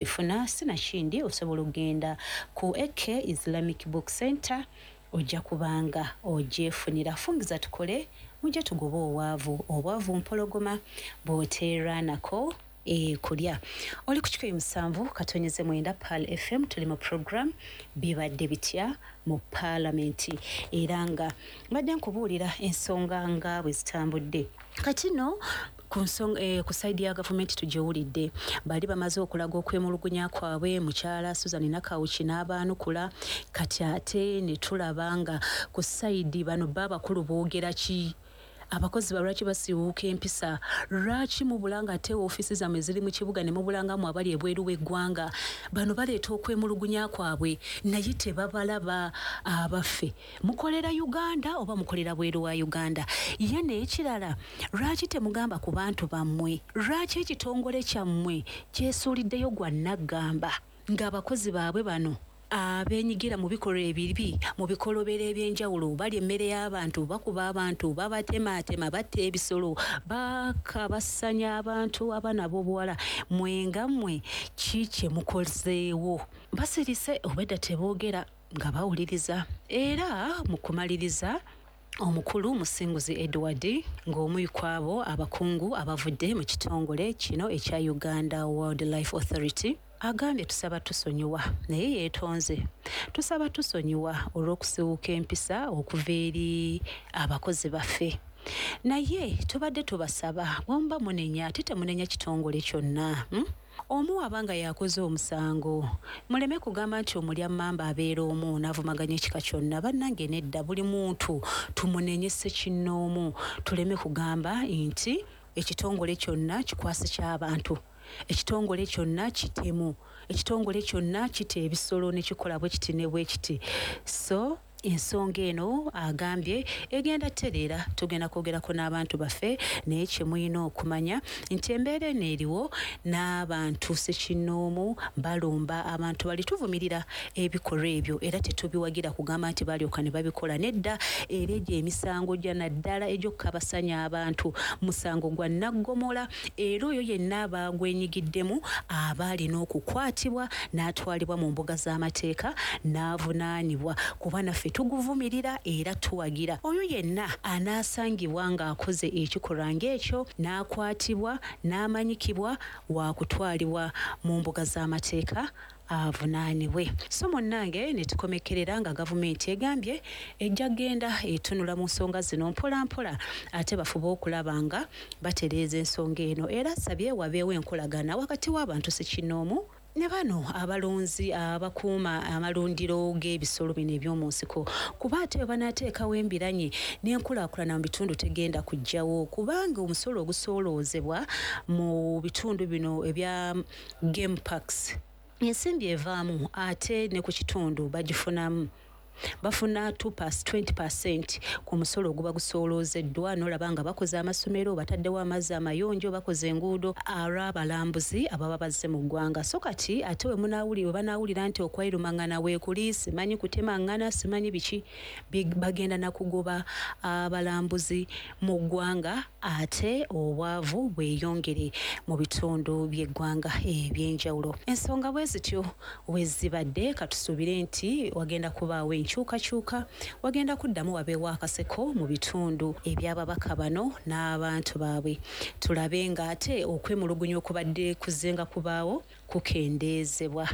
Funa sinakindi osobola okugenda ku AK Islamic Book Center ojja kubanga ogyefunira. Fungiza tukole mujje tugobe obwavu. Obwavu mpologoma bw'oteerwanako ekulya. Oli ku 107.9 Pearl FM, tuli mu program Bibadde Bitya mu Paalamenti, era nga mbadde nkubuulira ensonga nga bwe zitambudde. Kati nno ku nsonga ku side ya gavumenti tugiwulidde, bali bamaze okulaga okwemulugunya kwabwe, mukyala Susan Nakawuki n'abaanukula. Kati ate ne tulaba nga ku side bano bo abakulu boogera ki? Abakozi ba lwaki basiiwuuka empisa? Lwaki mubula nga ate ofiisi zammwe ziri mu kibuga ne mubula nga mmwe abali ebweru w'eggwanga? Bano baleeta okwemulugunya kwabwe naye tebabalaba. Abaffe, mukolera Uganda oba mukolera bweru wa Uganda? Ye n'ekirala, lwaki temugamba ku bantu bammwe? Lwaki ekitongole kyammwe kyesuuliddeyo gwa nnaggamba ng'abakozi baabwe bano abeenyigira mu bikolwa ebibi, mu bikolobero eby'enjawulo, balya emmere y'abantu, bakuba abantu, babatemaatema, batta ebisolo, bakabasanya abantu, abaana ab'obuwala? Mmwe nga mmwe ki kye mukozeewo? Basirise obwedda teboogera nga bawuliriza. Era mu kumaliriza, omukulu Musinguzi Edward ng'omu ku abo abakungu abavudde mu kitongole kino ekya Uganda Wildlife Authority agambye tusaba tusonyiwa, naye yeetonze, tusaba tusonyiwa olw'okusiwuuka empisa okuva eri abakozi baffe, naye tubadde tubasaba bw'omuba munenya ate temunenya kitongole kyonna, Omu aba nga yakoze omusango, muleme kugamba nti omulya mmamba abeera omu n'avumaganya ekika kyonna. Bannange nedda, buli muntu tumunenye ssekinnoomu, tuleme kugamba nti ekitongole kyonna kikwasi ky'abantu, ekitongole kyonna kitemu, ekitongole kyonna kita ebisolo ne kikola bwe kiti ne bwe kiti. So ensonga eno agambye egenda tereera, tugenda kwogerako n'abantu baffe, naye kye mulina okumanya nti embeera eno eriwo n'abantu ssekinnoomu balumba abantu bali. Tuvumirira ebikolwa ebyo era tetubiwagira kugamba nti balyoka ne babikola, nedda. Era egyo emisango gya naddala egy'okukabasanya abantu musango gwa naggomola, era oyo yenna aba agwenyigiddemu aba alina okukwatibwa n'atwalibwa mu mbuga z'amateeka n'avunaanibwa, kuba naffe tuguvumirira era tuwagira oyo yenna anaasangibwa ng'akoze ekikolwa ng'ekyo n'akwatibwa n'amanyikibwa waakutwalibwa mu mbuga z'amateeka avunaanibwe. So munnange, ne tukomekerera nga gavumenti egambye ejja kugenda etunula mu nsonga zino mpola mpola, ate bafube okulaba nga batereeza ensonga eno, era asabye wabeewo enkolagana wakati w'abantu ssekinnoomu ne bano abalunzi abakuuma amalundiro g'ebisolo bino eby'omu nsiko, kuba ate bwe banaateekawo embiranye n'enkulaakulana mu bitundu tegenda kujjawo, kubanga omusolo ogusooloozebwa mu bitundu bino ebya game parks, ensimbi evaamu ate ne ku kitundu bagifunamu, bafuna 20% ku musolo oguba gusooloozeddwa, n'olaba nga bakoze amasomero, bataddewo amazzi amayonjo, bakoze enguudo olw'abalambuzi ababa bazze mu ggwanga. So kati ate we banaawulira nti okwerumangana weekuli, simanyi kutemangana, simanyi biki, bagenda nakugoba abalambuzi mu ggwanga, ate obwavu bweyongere mu bitundu by'eggwanga ebyenjawulo. Ensonga bwe zityo we zibadde. Katusuubire nti wagenda kubaawo enkyukakyuka, wagenda kuddamu wabeewo akaseko mu bitundu eby'ababaka bano n'abantu baabwe, tulabe ng'ate okwemulugunya okubadde kuzenga kubaawo kukendeezebwa.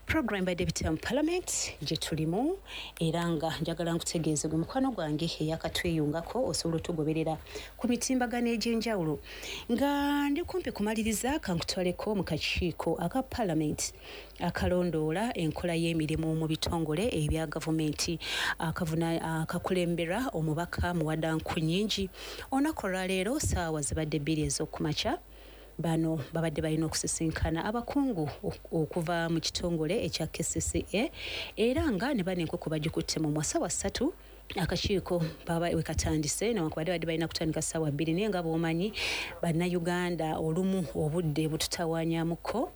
Program Badde Bitya mu Parliament gye tulimu, era nga njagala nkutegeeze gwe mukwano gwange eyakatweyungako, osobola otugoberera ku mitimbagano egy'enjawulo. Nga ndi kumpi kumaliriza, kankutwaleko mu kakiiko aka Parliament akalondoola enkola y'emirimu mu bitongole ebya gavumenti, akakulembera omubaka Muwada Nkunyingi. Olunaku olwaleero saawa zibadde 2 ez'okumakya, bano babadde balina okusisinkana abakungu okuva mu kitongole ekya KCCA, era nga ne bano enkoko bagikutte mu mwa. Ssaawa 3 akakiiko baba we katandise, newankubadde badde balina kutandika ssaawa 2, naye nga bw'omanyi Bannayuganda olumu obudde bututawaanyamuko.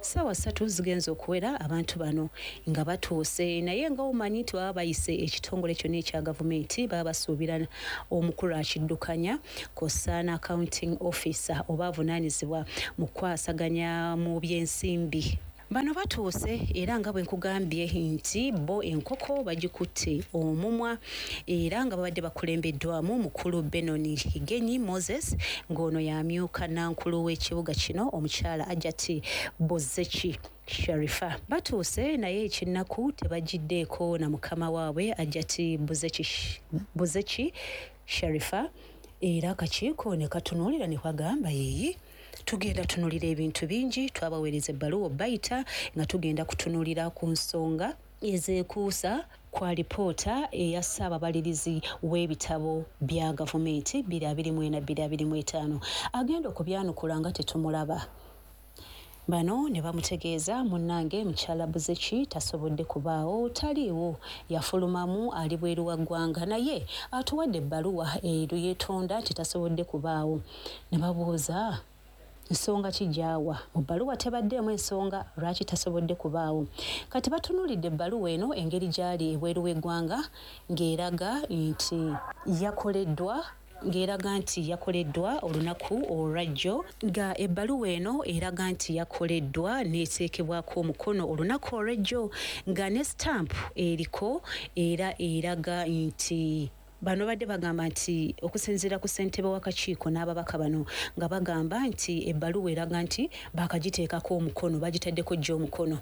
Ssaawa 3 zigenza okuwera abantu bano nga batuuse, naye nga omanyi nti baba bayise ekitongole kyonna ekya gavumenti, baba basuubira omukulu akiddukanya kw'ossa accounting officer oba avunaanyizibwa mu kukwasaganya mu byensimbi. Bano batuuse era nga bwe nkugambye nti bo enkoko bagikutte omumwa, era nga babadde bakulembeddwamu mukulu Benon Higenyi Moses, ng'ono y'amyuka nankulu w'ekibuga kino omukyala Ajati Bozeki Sharifa. Batuuse naye ekinnaku tebagiddeeko na mukama waabwe Ajati Buzeki Sharifa, era akakiiko ne katunuulira ne kagamba yeeyi tugenda tunulira ebintu bingi, twabaweereza ebbaluwa bayita nga tugenda kutunulira ku nsonga ezeekuusa ku alipoota eya ssaababalirizi w'ebitabo bya gavumenti 2024-2025, agenda okubyanukula nga tetumulaba. Bano ne bamutegeeza munnange mukyala Buzeki tasobodde kubaawo, taliiwo, yafulumamu ali bweru wa ggwanga, naye atuwadde ebbaluwa ero yeetonda nti tasobodde kubaawo. Ne babuuza nsonga ki gy'awa mu bbaluwa, tebaddeemu ensonga lwaki tasobodde kubaawo. Kati batunuulidde ebbaluwa eno engeri gy'ali ebweru w'eggwanga ng'eraga nti yakoleddwa olunaku olwajjo, nga ebbaluwa eno eraga nti yakoleddwa n'eteekebwako omukono olunaku olw'ejjo, nga ne stamp eriko era eraga nti bano badde bagamba nti okusinziira ku ssentebe w'akakiiko n'ababaka bano nga bagamba nti ebbaluwa eraga nti baakagiteekako omukono, bagitaddeko jjo omukono.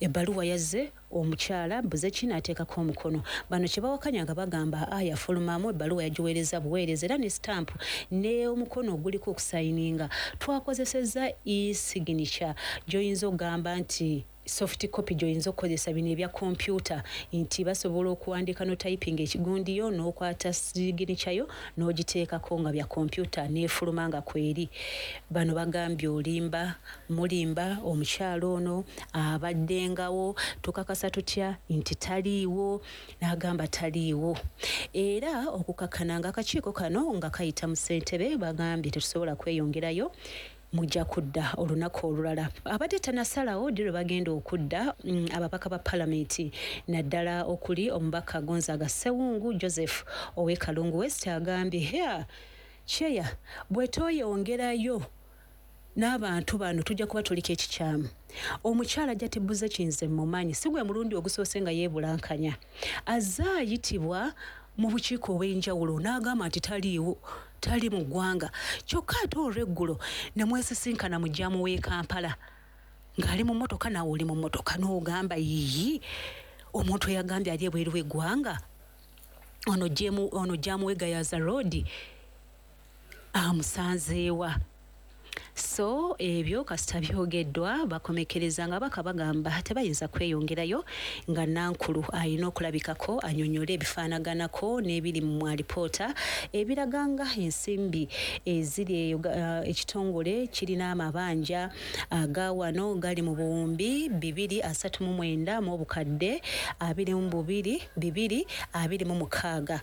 Ebbaluwa yazze omukyala Buzeki n'ateekako omukono. Bano kye bawakanya nga bagamba yafulumamu, ebbaluwa yagiweereza buweereza era ne stamp ne omukono oguliko okusayininga twakozesezza e-signature gy'oyinza okugamba nti soft copy gy'oyinza okukozesa bino ebya kompyuta, nti basobola okuwandiika no typing ekigundiyo n'okwata signature yo n'ogiteekako nga bya kompyuta n'efuluma nga kweri. Bano bagambye olimba, mulimba, omukyala ono abaddengawo, tukakasa tutya nti taliiwo, n'agamba taliiwo. Era okukakkana nga akakiiko kano nga kayita mu ssentebe bagambye tetusobola kweyongerayo, mujja kudda olunaku olulala. Abadde tanasalawo ddi lwe bagenda okudda ababaka ba palamenti, naddala okuli omubaka Gonzaga Ssewungu Joseph ow'e Kalungu West agambye cheya bwe toyongerayo n'abantu bano tujja kuba tuliko ekikyamu. Omukyala Ajati Buzeki nze mmumanyi, si gwe mulundi ogusoose nga yeebulankanya, azze ayitibwa mu bukiiko obw'enjawulo n'agamba nti taliiwo, tali mu ggwanga, kyokka ate olw'eggulo ne mwesisinkana mu jjaamu w'e Kampala ng'ali mu mmotoka naawe oli mu mmotoka n'ogamba yiyi omuntu eyagambye ali ebweru w'eggwanga ono jjaamu w'e Gayaza Road amusanzeewa. So ebyo kasita byogeddwa bakomekereza nga baka bagamba tebayinza kweyongerayo nga nankulu alina okulabikako annyonnyole ebifaanaganako n'ebiri mu alipoota ebiraga nga ensimbi eziri eyo ekitongole kirina amabanja aga wano gali mu buwumbi 239 mu obukadde 22 226,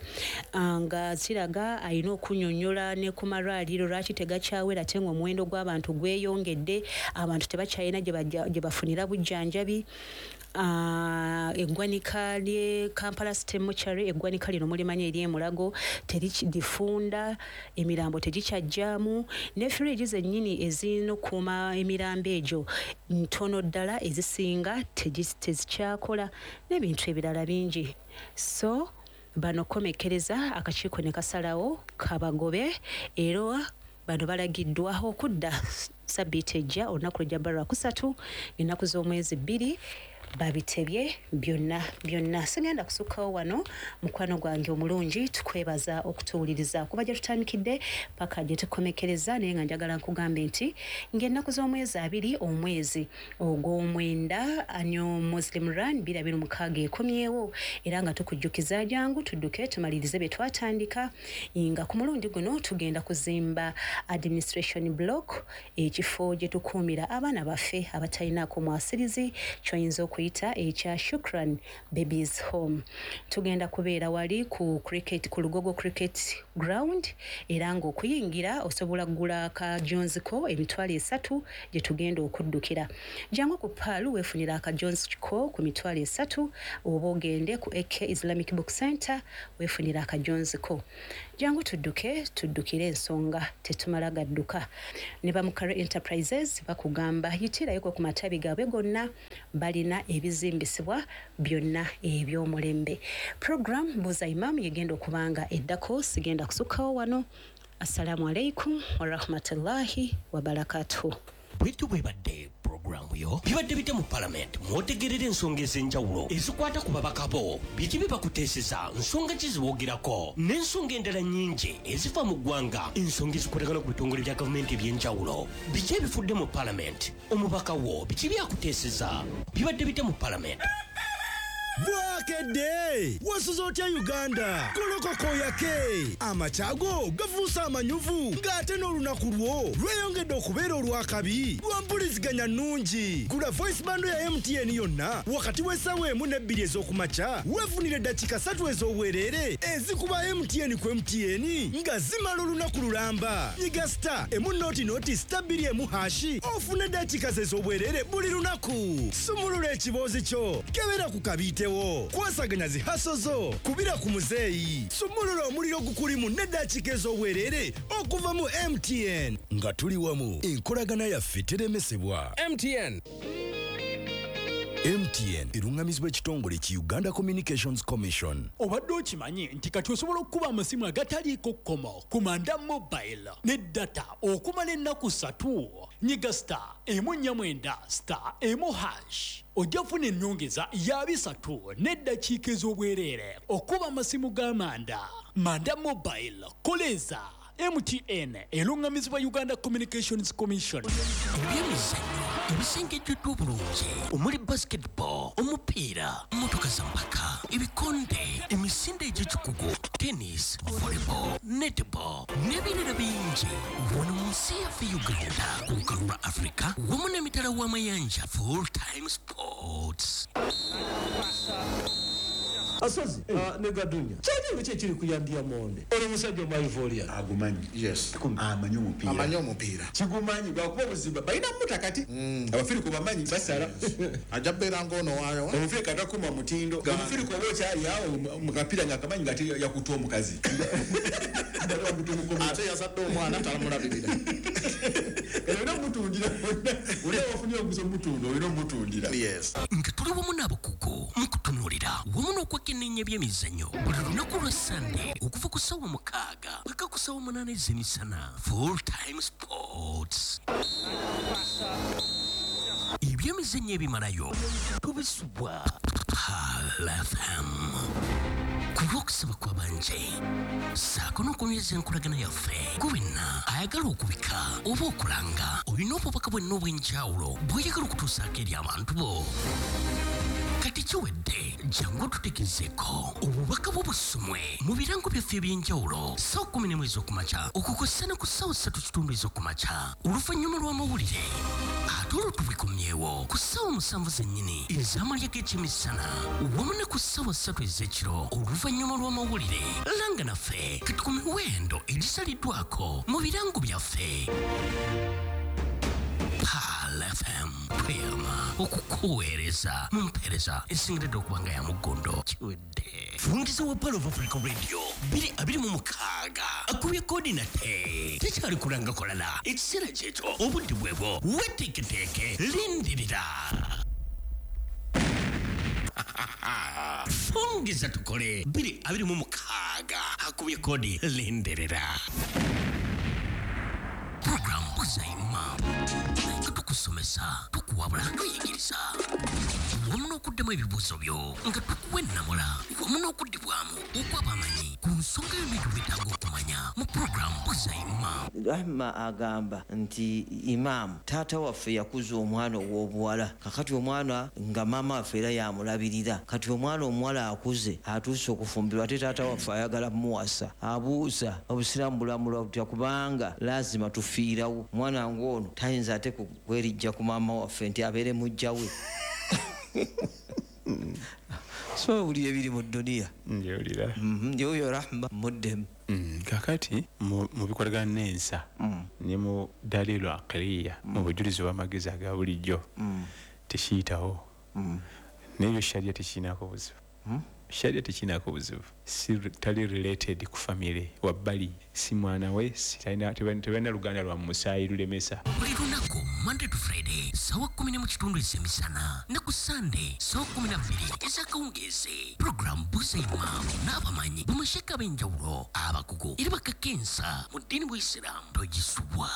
nga kiraga alina okunnyonnyola ne ku malwaliro lwaki tegakyawera ate ng'omuwendo gw'abantu gweyongedde, abantu tebakyalina gye bafunira bujjanjabi. Eggwanika ly'e Kampala City Mortuary, eggwanika lino mulimanyi ery'e Mulago, terifunda, emirambo tegikyajjaamu, ne fridge zennyini ezirina okukuuma emirambo egyo ntono ddala, ezisinga tezikyakola n'ebintu ebirala bingi. So bano komekkereza akakiiko ne kasalawo kabagobe, era bano balagiddwa okudda sabbiiti ejja olunaku lujja bba lwakusatu ennaku z'omwezi 2 babitebye byonna byonna. Sigenda kusukkawo wano, mukwano gwange omulungi, tukwebaza okutuwuliriza kuba gye tutandikidde paka gye tukomekereza, naye nga njagala nkugambe nti ng'ennaku z'omwezi 2 omwezi ogw'omwenda Annual Muslim Run 2026 ekomyewo, era nga tukujjukiza jangu tudduke tumalirize bye twatandika, nga ku mulundi guno tugenda kuzimba administration block, ekifo gye tukuumira abaana baffe abatalinaako mwasirizi, ky'oyinza okuyita ekya Shukran Babies Home. Tugenda kubeera wali ku cricket, ku Lugogo Cricket Ground, era ng'okuyingira osobola kugula akajonziko 300,000 gye tugenda okuddukira. Jangu ku Paalu weefunira akajonziko ku 300,000, oba ogende ku AK Islamic Book Center weefunira akajonziko. Jangu tudduke, tuddukire ensonga, tetumala gadduka. Ne ba Mukare Enterprises bakugamba yitirayoko ku matabi gaabwe gonna, balina ebizimbisibwa byonna eby'omulembe. Program Buuza Imam yegenda okubanga eddako, sigenda kusukkawo wano. Assalamu alaikum warahmatullahi wabarakatuh. Bwetyo bwebadde puroguramu yo bibadde bitya mu palamenti, mwotegerera ensonga ez'enjawulo ezikwata ku babaka bo, biki bye bakuteeseza, nsonga ki ziwoogerako, n'ensonga endala nnyingi ezifa mu ggwanga, ensonga ezikwatagana ku bitongole bya gavumenti eby'enjawulo, biki ebifudde mu palamenti, omubaka wo biki byakuteeseza, bibadde bitya mu palamenti. Bwakedde wasuze otya Uganda? Golokoka oyake, amakyago gafuuse amanyuvu, ng'ate n'olunaku lwo lweyongedde okubeera olw'akabi lwa mpuliziganya nnungi. Gula voice bando ya MTN yonna wakati w'essaawa 1 ne 2 ez'okumakya, weefunire eddakiika 3 ez'obwereere ezikuba MTN ku MTN nga zimala olunaku lulamba. Nyiga star emu noti noti star 2 emu hashi ofune eddakiika ze ez'obwereere buli lunaku. Sumulula ekiboozi kyo, kebera ku kabiitewo, kwasaganya zihaso zo, kubira ku muzeeyi, sumulula omuliro gukulimu n'eddakiika ez'obwereere okuva mu MTN. Nga tuli wamu, enkolagana yaffe teremesebwa. MTN. MTN erungamizibwa ekitongole ki Uganda Communications Commission. Obadde okimanyi nti kati osobola okukuba amasimu agataliiko kkomo ku Manda Mobile ne data okumala ennaku 3. Nyiga star 149 star 1 hash ojja kufuna ennyongeza ya 3 n'eddakiika ez'obwereere okuba amasimu ga Manda. Manda Mobile, koleza. MTN erungamizibwa Uganda Communications Commission. Ebyemizannyo ebisengejjeddwa obulungi omuli basketball, omupiira, mmotoka za mpaka, ebikonde, emisinde egy'ekikugu, tennis, volleyball, netball n'ebirala bingi. Wano mu nsi yaffe Uganda, ku lukalu lwa Africa wamu n'emitala w'amayanja. Full time sports. Asozi ne Gadunya kyali kye kiri kuyambya monde ono musajja omaivoria agumanyi. Yes, amanyi omupiira, amanyi omupiira kigumanyi gwakuba obuzibu balina mutakati abafirika bamanyi basala ajja beera ng'ono waayo omufirika takuma mutindo omufirika oba okyali awo mu kapiira nga akamanyi nga yakuta omukazi ate yazadde omwana talamulabirira. Olina omutundira, olina wafunye omusa omutunda, olina omutundira. Yes, nga tuli wamu n'abakugu mu kutunuulira wamu n'okwekenneenya ebyemizannyo buli lunaku lwa Sande okuva ku ssaawa 6 paka ku ssaawa 8 ez'emisana. Full time sports, ebyemizannyo ebimalayo tubisubwa Pearl FM. Ku lw'okusaba kw'abanje ssaako n'okunyweza enkolagana yaffe, gwe wenna ayagala okubika oba okulanga, olina obubaka bwenna obw'enjawulo bw'oyagala okutuusaako eri abantu bo. Kati kiwedde, jangu otutegezeeko obubaka bwo busomwe mu birango byaffe eby'enjawulo ssaawa 11 ez'okumakya okukosa ne ku ssaawa 3:15 ez'okumakya oluvannyuma lw'amawulire, ate olwo tubikomyewo ku ssaawa 7 zennyini ez'amalya g'ekyemisana wamu ne ku ssaawa 3 ez'ekiro oluvannyuma lw'amawulire. Langa naffe kati ku miwendo egisaliddwako mu birango byaffe. Pearl FM tweyama okukuweereza mu mpeereza esingiridde okuba nga ya muggondo. Kiwedde. Fungiza wa Pearl of Africa Radio 2026 akubye koodi nate tekyali kulanga kolala, ekiseera kyekyo obudde bwebwo, weteeketeeke, lindirira. Fungiza tukole 2026 akubye koodi, lindirira. Program Buuza Imam nga tukusomesa, tukuwabula, tuyigiriza wamu n'okuddamu ebibuuzo byo nga tukuwa ennamula wamu n'okuddibwamu okw'abamanyi ku nsonga yonna gy'oweetaaga okumanya mu program Buuza Imam. Rahma agamba nti imaamu taata waffe yakuza omwana ow'obuwala, kakati omwana nga maama waffe era yamulabirira, kati omwana omuwala akuze atuuse okufumbirwa ate taata waffe ayagala muwasa. Abuuza obusiraamu bulamulwa butya, kubanga lazima tufiirawo omwana ng'ono tayinza ate kwerijja ku maama waffe nti abeere mujja we. So owulira ebiri mu dduniya. Njewulira. Yoyo Rahma muddemu. Kakati mu bikolagana n'ensa ne mu dalilu aqliya, mu bujulizi bw'amagezi aga bulijjo tekiyitawo, n'ebyo sharia tekirinako buzibu. Sharia tekinako buzibu, si tali related ku family wabbali, si mwana we, si tebalina luganda lwa musaayi lulemesa. Buli lunaku Monday to Friday sawa 10:15 ez'emisana ne ku Sunday sawa 12 ez'akawungeezi. Program Buuza Imam n'abamanyi bamasheka ab'enjawulo abakugu era bakakensa mu ddiini bw'Isiraamu, togisubwa.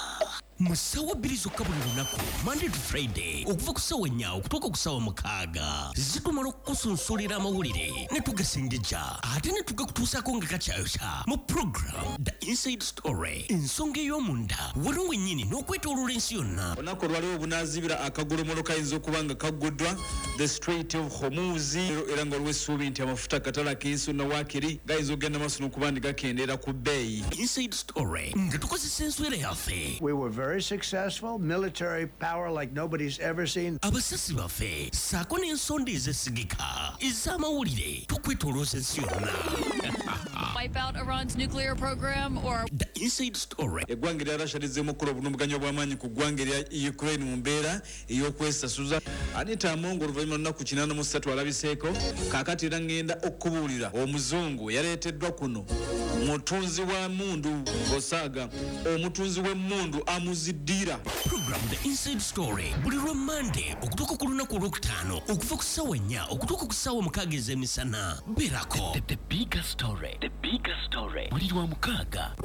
Mu ssaawa 2 zokka buli lunaku Monday to Friday okuva ku ssaawa 4 okutuuka ku ssaawa 6 zitumala okukusunsulira amawulire ne tugasengejja ate ne tugakutuusaako nga kakyayokya mu program The Inside Story, ensonga ey'omunda wano wennyini n'okwetooloola ensi yonna. Olunaku olwaliwo obunaazibira akagolomolo kayinza okuba nga kagguddwa the Strait of Hormuz, era nga olw'essuubi nti amafuta akatale ak'ensi yonna waakiri gayinza okugenda maaso n'okuba nti gakendeera ku bbeeyi. Inside Story nga tukozesa enswera yaffe. We were very successful, military power like nobody's ever seen. Abasasi baffe ssaako n'ensonda ezesigika ez'amawulire tukwetoolooza ensi yonna. Wipe out Iran's nuclear program or The Inside Story. Eggwanga erya Russia lizzeemu okukola obulumbaganyi obw'amaanyi ku ggwanga erya Ukraine mu mbeera ey'okwesasuza. Anita Among oluvannyuma lunaku 83 alabiseeko. Kaakati era ngenda okubuulira omuzungu yaleeteddwa kuno, mutunzi wa mmundu osaaga omutunzi w'emmundu amuziddira. Program The Inside Story buli lwa Monday okutuuka ku lunaku olwokutaano okuva ku ssaawa 4 okutuuka ku ssaawa 6 ez'emisana. Beerako. The bigger story. The bigger story. Buli lwa mukaaga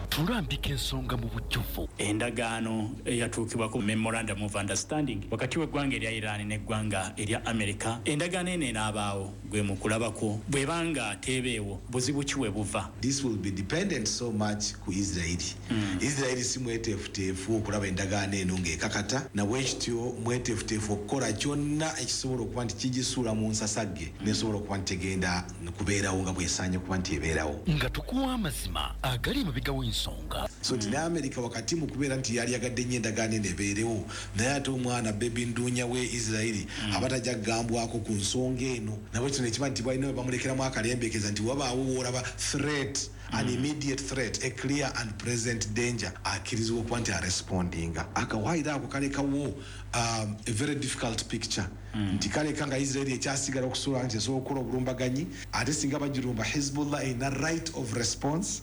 tulambika ensonga mu bujjuvu. Endagaano eyatuukibwako, memorandum of understanding, wakati w'eggwanga erya Iran n'eggwanga erya America, endagaano eno enaabaawo gwe mu kulabako? Bw'ebanga teebeewo, buzibu ki we buva? This will be dependent so much ku Israeli. Israeli si mweteefuteefu okulaba endagaano eno ng'ekakata, nabwekityo mweteefuteefu okukola kyonna ekisobola okuba nti kigisuula mu nsasagge nesobola okuba nti tegenda kubeerawo nga bwesaanye kuba nti ebeerawo. Nga tukuwa amazima agali emabega w'ensonga. So nti ne America wakati mu kubeera nti yali yagadde nnyo endagaano eno ebeerewo, naye ate omwana bebi nduunya we Israeli aba tajja kugambwako ku nsonga eno, nabwekityo nekiba nti balina we bamulekeramu akalembekeza nti wabaawo woolaba threat, an immediate threat, a clear and present danger, akkirizibwa okuba nti arespondinga. Akawaayiro ako kalekawo a very difficult picture, nti kaleka nga Israeli ekyasigala okusobola nti esobola okukola obulumbaganyi, ate singa bagirumba Hezbollah erina right of response.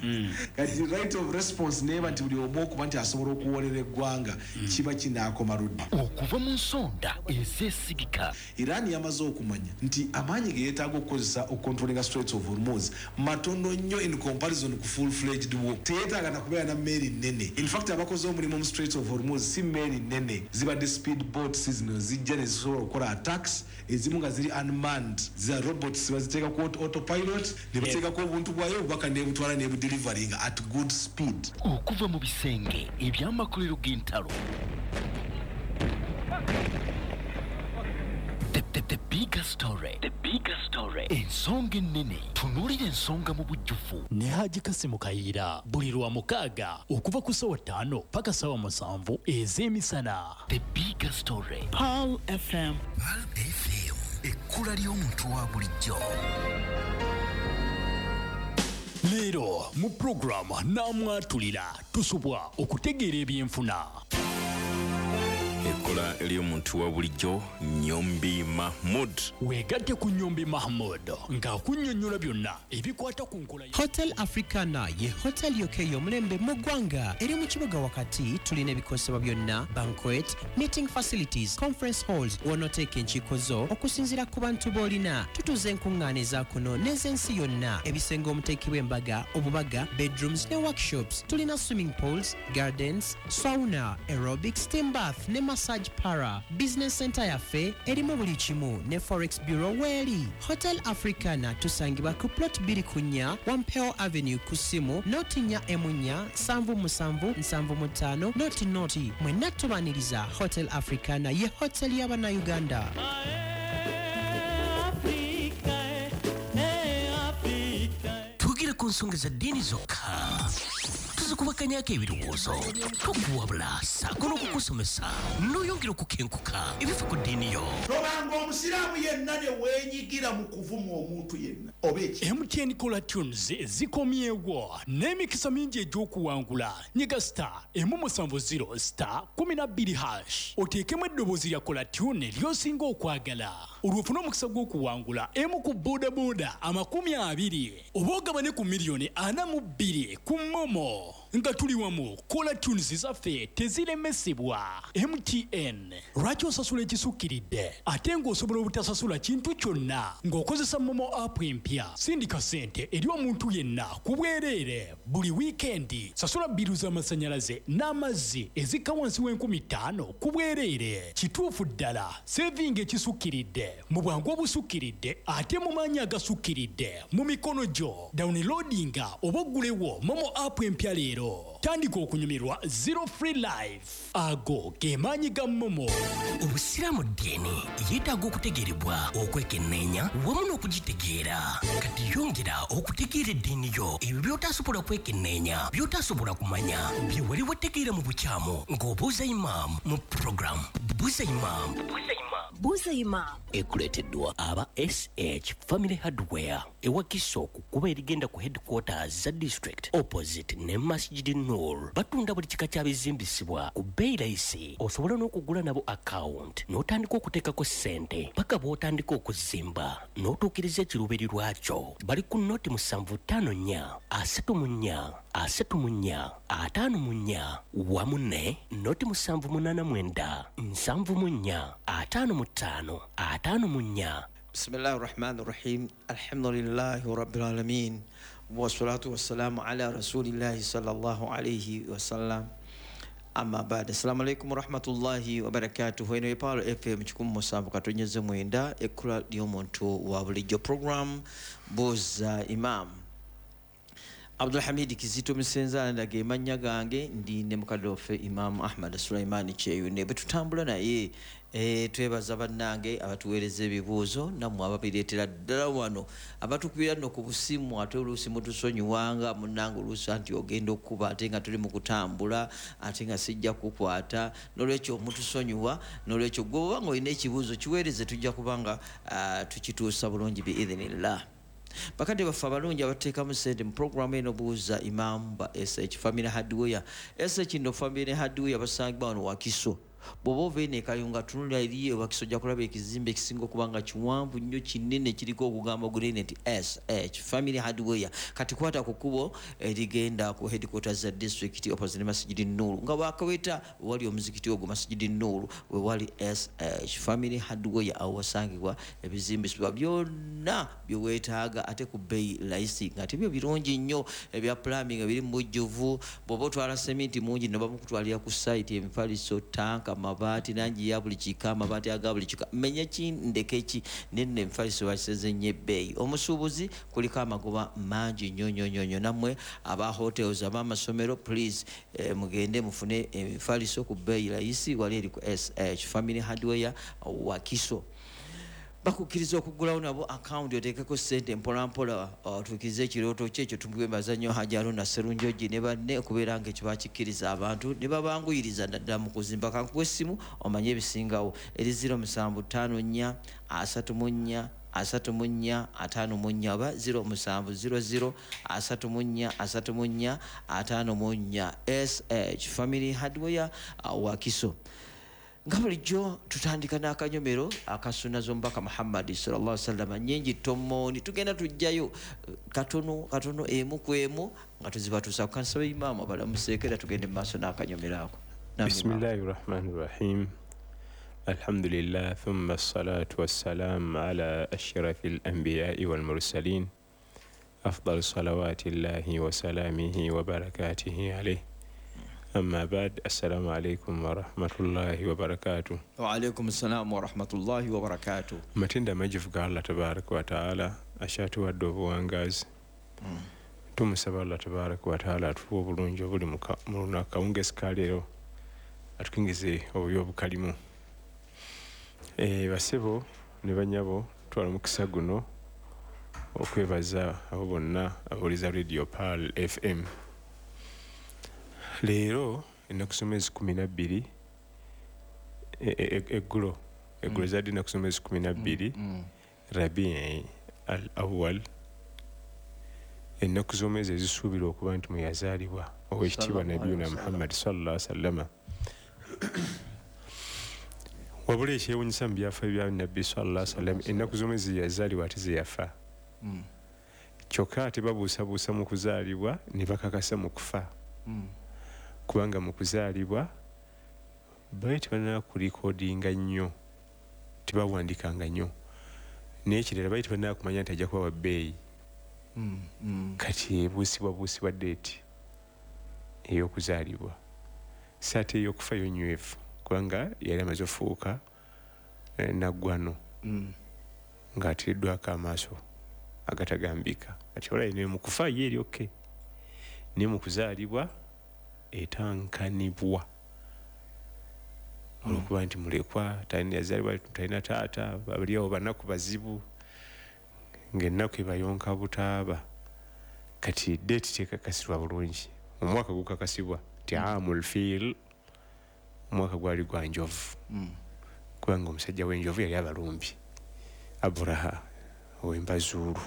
Kati right of response neeba nti buli omu okuba nti asobola okuwolera eggwanga, kiba kinaakoma ludda? Okuva mu nsonda ezeesigika. Iran yamaze okumanya nti amaanyi ge yeetaaga okukozesa okucontrollinga Straits of Hormuz matono nnyo in comparison ku full fledged war. Teyeetaaga nakubeera na mmeeri nnene. In fact, abakoze omulimu mu Straits of Hormuz si mmeeri nnene, zibadde speed boats zino zijja ne zisobola okukola attacks, ezimu nga ziri unmanned, za robots, baziteeka ku autopilot ne bateekako obuntu bwayo, obubaka nebutwala nebudeliveringa at good speed. Okuva mu bisenge eby'amakolero g'entalo. The bigger story. The bigger story. Ensonga ennene. Tunuulira ensonga mu bujjuvu. Ne Haji Kasimu Kayiira buli lwa mukaaga okuva ku ssaawa 5 paka ssaawa 7 ez'emisana. The bigger story. Pearl FM. Pearl FM. Ekkula ly'omuntu wa bulijjo. Leero mu program Naamwatulira tusubwa okutegeera ebyenfuna. Ekkola ly'omuntu wa bulijjo, Nyombi Mahmud. Weegatte ku Nyombi Mahmud ng'akunnyonnyola byonna ebikwata ku nkola. Hotel Africana ye hotel yokka ey'omulembe mu ggwanga, eri mu kibuga wakati. Tulina ebikozesebwa byonna, banquet, meeting facilities, conference halls w'onooteeka enkiiko zo okusinziira ku bantu b'olina. Tutuuza enkuŋŋaana eza kuno n'ez'ensi yonna, ebisenge omuteekebwa embaga, obubaga, bedrooms ne workshops. Tulina swimming pools, gardens, sauna, aerobic, steam bath ne massage parlour. Business center yaffe erimu buli kimu ne forex bureau weeri. Hotel Africana tusangibwa ku plot 2 4 Wampeo Avenue, ku ssimu 0 4 7 7 75 00. Mwenna tubaniriza. Hotel Africana ye hotel y'Abannayuganda. Twogera ku nsonga za ddiini zokka, tuzikubakanyako ebirowoozo, tukuwabula ssaako n'okukusomesa n'oyongera okukenkuka ebifa ku ddiini yo. Tobanga. Toddanga omusiraamu yenna ne weenyigira mu kuvuma omuntu yenna oba eki. MTN Caller Tunes zikomyewo n'emikisa mingi egy'okuwangula. Nyiga star 170 star 12 hash oteekemu eddoboozi lya Caller Tune ly'osinga okwagala, olwo ofune omukisa gw'okuwangula emu ku bodaboda 20 oba ogabane ku miliyoni 42 ku MoMo. Nga tuli wamu, Caller Tunes zaffe teziremesebwa. MTN, lwaki osasula ekisukkiridde ate ng'osobola obutasasula kintu kyonna ng'okozesa MoMo app empya? Sindika ssente eri omuntu yenna ku bwereere buli wiikendi. Sasula bbiru z'amasannyalaze n'amazzi ezikka wansi w'enkumi 5 ku bwereere. Kituufu ddala, sevinga ekisukkiridde mu bwangu obusukkiridde ate mu maanyi agasukkiridde mu mikono gyo. Downloadinga oba oggulewo MoMo app empya leero. Tandika okunyumirwa zero free life. Ago ge maanyi ga MoMo. Obusiraamu ddiini yeetaaga okutegeerebwa, okwekenneenya wamu n'okugitegeera. Kati yongera okutegeera eddiini yo. Ebyo by'otasobola kwekenneenya, by'otasobola kumanya, bye wali wategeera mu bukyamu, ng'obuuza imaamu mu program Buuza Imaamu. Buuza Imaamu ekuleeteddwa aba SH Family Hardware ewakiso ku kkubo erigenda ku headquarters za district, opposite ne Masjid Nur. Batunda buli kika kya bizimbisibwa ku bbeeyi layisi. Osobola n'okugula nabo account n'otandika okuteekako ssente paka bw'otandika okuzimba n'otuukiriza ekiruubirirwa kyo. Bali ku 075 4 34 34 54 wamu ne 0 789 74 55 54. بسم الله الرحمن الرحيم، الحمد لله رب العالمين، والصلاة والسلام على رسول الله صلى الله عليه وسلم، أما بعد، السلام عليكم ورحمة الله وبركاته. Eno Pearl FM 107.9, ekkula ly'omuntu wa bulijjo, program Buuza Imam. Abdulhamidi Kizito Musenza ndage mannya gange, ndi ne mukadde waffe Imam Ahmad Sulaimani Kyeyune bwe tutambula naye. Twebaza bannange abatuweereza ebibuuzo, nammwe ababireetera ddala wano, abatukubira nno ku busimu. Ate oluusi mutusonyiwanga munnange, oluusi anti ogenda okukuba ate nga tuli mu kutambula, ate nga sijja kukwata, nolwekyo mutusonyiwa. Nolwekyo gwe oba nga olina ekibuuzo kiweereze, tujja kuba nga tukituusa bulungi biidhinillah. Bakadde baffe abalungi abateekamu sente mu programu eno Buuza Imam ba SH Family Hardware. SH no Family Hardware basangibwa wano Wakiso. Bw'oba ova eno Ekayunga, tunula eri Ewakiso, ojja kulaba ekizimbe ekisinga okuba nga kiwanvu nnyo, kinene, kiriko okugambo gunene nti SH Family Hardware. Kati kwata ku kkubo erigenda ku headquarters za district, opposite Masjidi Nuru, nga wakaweta wali omuzikiti ogwo Masjidi Nuru, we wali SH Family Hardware. Awo wasangibwa ebizimbisibwa byonna byeweetaaga ate ku bbeeyi layisi, nga tebyo birungi nnyo, ebya plumbing ebiri mu bujjuvu. Bw'oba otwala seminti mungi, no bamukutwalira ku site, emifaliso, tanka, mabaati nangi ya buli kika, amabaati aga buli kika, menye ki ndeke ki, nenno emifaliso bakiseze nnyo ebbeeyi. Omusuubuzi kuliko amagoba mangi nnyo nnyo nnyo nnyo. Nammwe aba hotels, ab'amasomero, please, mugende mufune emifaliso ku bbeeyi layisi wali eri ku SH Family Hardware Wakiso. Bakukkiriza okuggulawo nabo akawunti oteekeko ssente mpolampola otuukirize ekirooto kye ekyo. Tumwebaza nnyo Haji Aruna Serunjogi ne banne okubeera nga ekyo bakikkiriza abantu ne babanguyiriza naddala mu kuzimba. Kankuwa essimu omanye ebisingawo, eri 0754 34 34 54 oba 0700 34 34 54. SH Family Hardware, Wakiso. Nga bulijjo tutandika n'akanyomero akasuna z'omubaka Muhammadi sallallahu sallama, nyingi tomooni, tugenda tujjayo katono katono, emu ku emu, nga tuzibatuusa. Kukansaba imaamu abalamuseeko era tugende mu maaso n'akanyomero ako. بسم الله الرحمن الرحيم، الحمد لله، ثم الصلاة والسلام على أشرف الأنبياء والمرسلين، أفضل صلوات الله وسلامه وبركاته عليه، أما بعد، السلام عليكم ورحمة الله وبركاته. وعليكم السلام ورحمة الله وبركاته. Amatendo amajjuvu ga Allah tabaraka wataala akyatuwadde obuwangaazi. Tumusaba Allah tabaraka wataala atuwa obulungi obuli mu lunaku kawungezi ka leero, atukingize obubi obukalimu. Basebo ne banyabo, twala omukisa guno okwebaza abo bonna abawuliza Radio Pearl FM. Leero ennaku z'omwezi 12, eggulo Eggulo zadde ennaku z'omwezi 12 Rabii al Awal, ennaku z'omwezi ezisuubirwa okuba nti mwe yazaalibwa owekitiibwa Nabiyuna Muhammad sallallahu alaihi wasallama. Wabula ekyewuunyisa mu byafaayo bya Nabbi sallallahu alaihi wasallam, ennaku z'omwezi yazaalibwa ate ze yafa. Kyokka ate babuusabuusa mu kuzaalibwa ne bakakasa mu kufa. Kubanga mu kuzaalibwa baali tebalina kulikodinga nnyo, tebawandikanga nnyo, n'ekirala baali tebalina kumanya nti ajja kuba wa bbeeyi. Kati ebuusibwabuusibwa deeti ey'okuzaalibwa, si ate ey'okufa yo nnywevu, kubanga yali amaze ofuuka naggwano ng'ateereddwako amaaso agatagambika. Kati olaba ne mu kufa ye eri okay, naye mu kuzaalibwa etankanibwa olwokuba nti mulekwa, yazaalibwa talina taata, bali awo banaku bazibu, ng'ennaku ebayonka butaaba. Kati deeti tekakasibwa bulungi. Omwaka gukakasibwa nti amul fiil, omwaka gwali gwa njovu, kubanga omusajja w'enjovu yali abalumbi Aburaha ow'embazuulu.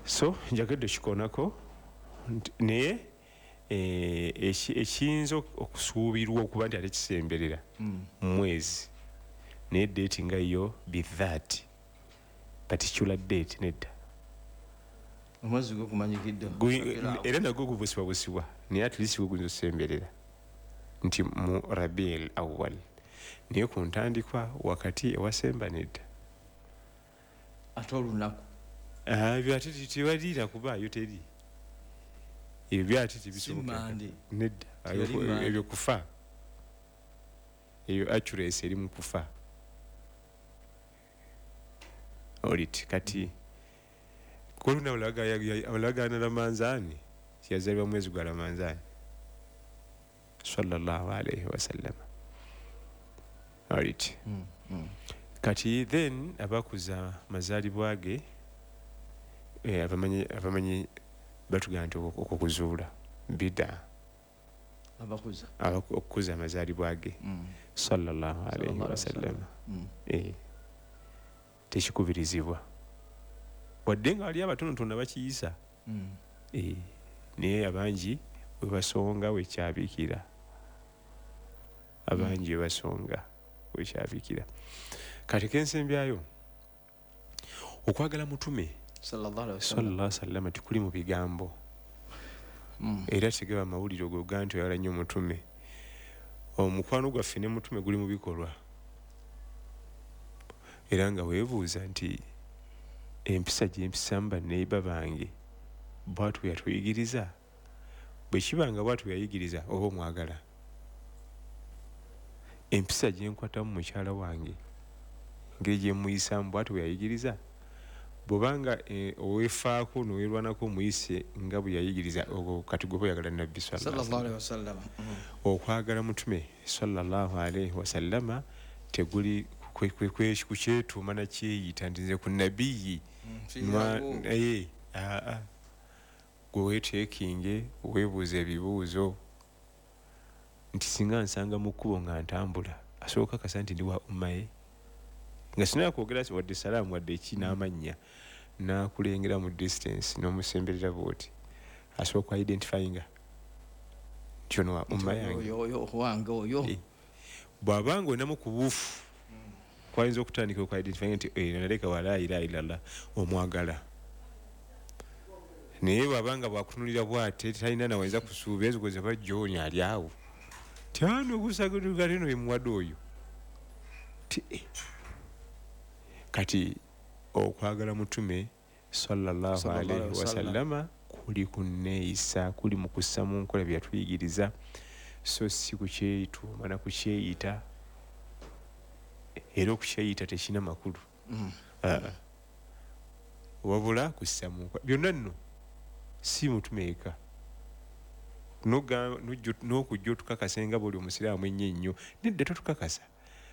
So njagadde kikoonako naye ekiyinza okusuubirwa okuba nti ate kisemberera mwezi, naye deeti nga yo be that particular date nedda. Omwezi gwo gumanyikiddwa era nagwo gubuusibwabusibwa, naye at least gwo guyinza okusemberera nti mu Rabiul Awal, naye ku ntandikwa wakati ewasemba nedda. Ate olunaku ebyo ate tewaliira kubaayo, teri ebyo byate tebisoboka nedda. Ebyo kufa, eyo accuracy eri mu kufa olit. Kati koluna olagaana Ramanzaani, yazaalibwa mwezi gwa Ramanzaani sallallahu alaihi wasallam. Olit. Kati then abakuza mazaalibwa ge abamanyi batugamba nti okukuzuula bida, okukuza amazaalibwa ge sallallahu alaihi wasallam tekikubirizibwa, wadde nga wali abatonotono bakiyisa, naye abangi webasonga wekyabikira, abangi webasonga wekyabikira. Kati kensembyayo okwagala mutume sallallahu alaihi wasallam tikuli mu bigambo, era tegaba mawulire ogoga nti oyagala nnyo mutume. Omukwano gwaffe ne mutume guli mu bikolwa, era nga weebuuza nti empisa gye mpisamu banneiba bange bw'atyo bwe yatuyigiriza, bwe kiba nga bw'atyo bwe yayigiriza oba omwagala. Empisa gye nkwatamu mukyala wange, engeri gye mmuyisaamu bw'atyo bwe yayigiriza, bw'obanga oweefaako n'owerwanako omuyise nga bwe yayigiriza, ogwo kati gwe oyagala Nabbi sallallahu alaihi wasallam. Okwagala mutume sallallahu alaihi wasallama teguli kukyetuuma na kyeyita nti nze ku nabiyi gwe weeteekinge weebuuza ebibuuzo nti singa nsanga mu kkubo nga ntambula asobola okukakasa nti ndi wa umma ye, nga sinaba kwogera wadde salaamu wadde ki n'amannya, n'akulengera mu distance n'omusemberera bw'oti, asobola ku identifyinga nti ono wa umma yange wange. Bw'abanga olinamu ku buufu kwayinza okutandika oku identifyinga nti naleka wa la ilaha illallah omwagala, naye bw'abanga bwakutunulira bw'ate talina nawayinza kusuubira ezikoze ba John ali awo ti ano gusagano ye muwadde oyo. Kati okwagala mutume sallallahu alaihi wasallama kuli kunneeyisa, kuli mu kussa mu nkola bye yatuyigiriza, so si kukyeyituuma na kukyeyita. Era okukyeyita tekirina makulu, wabula kussa mu nkola byonna nno si mutume eka n'okujja otukakasa nga bw'oli omusiraamu ennyo ennyo. Nedda totukakasa,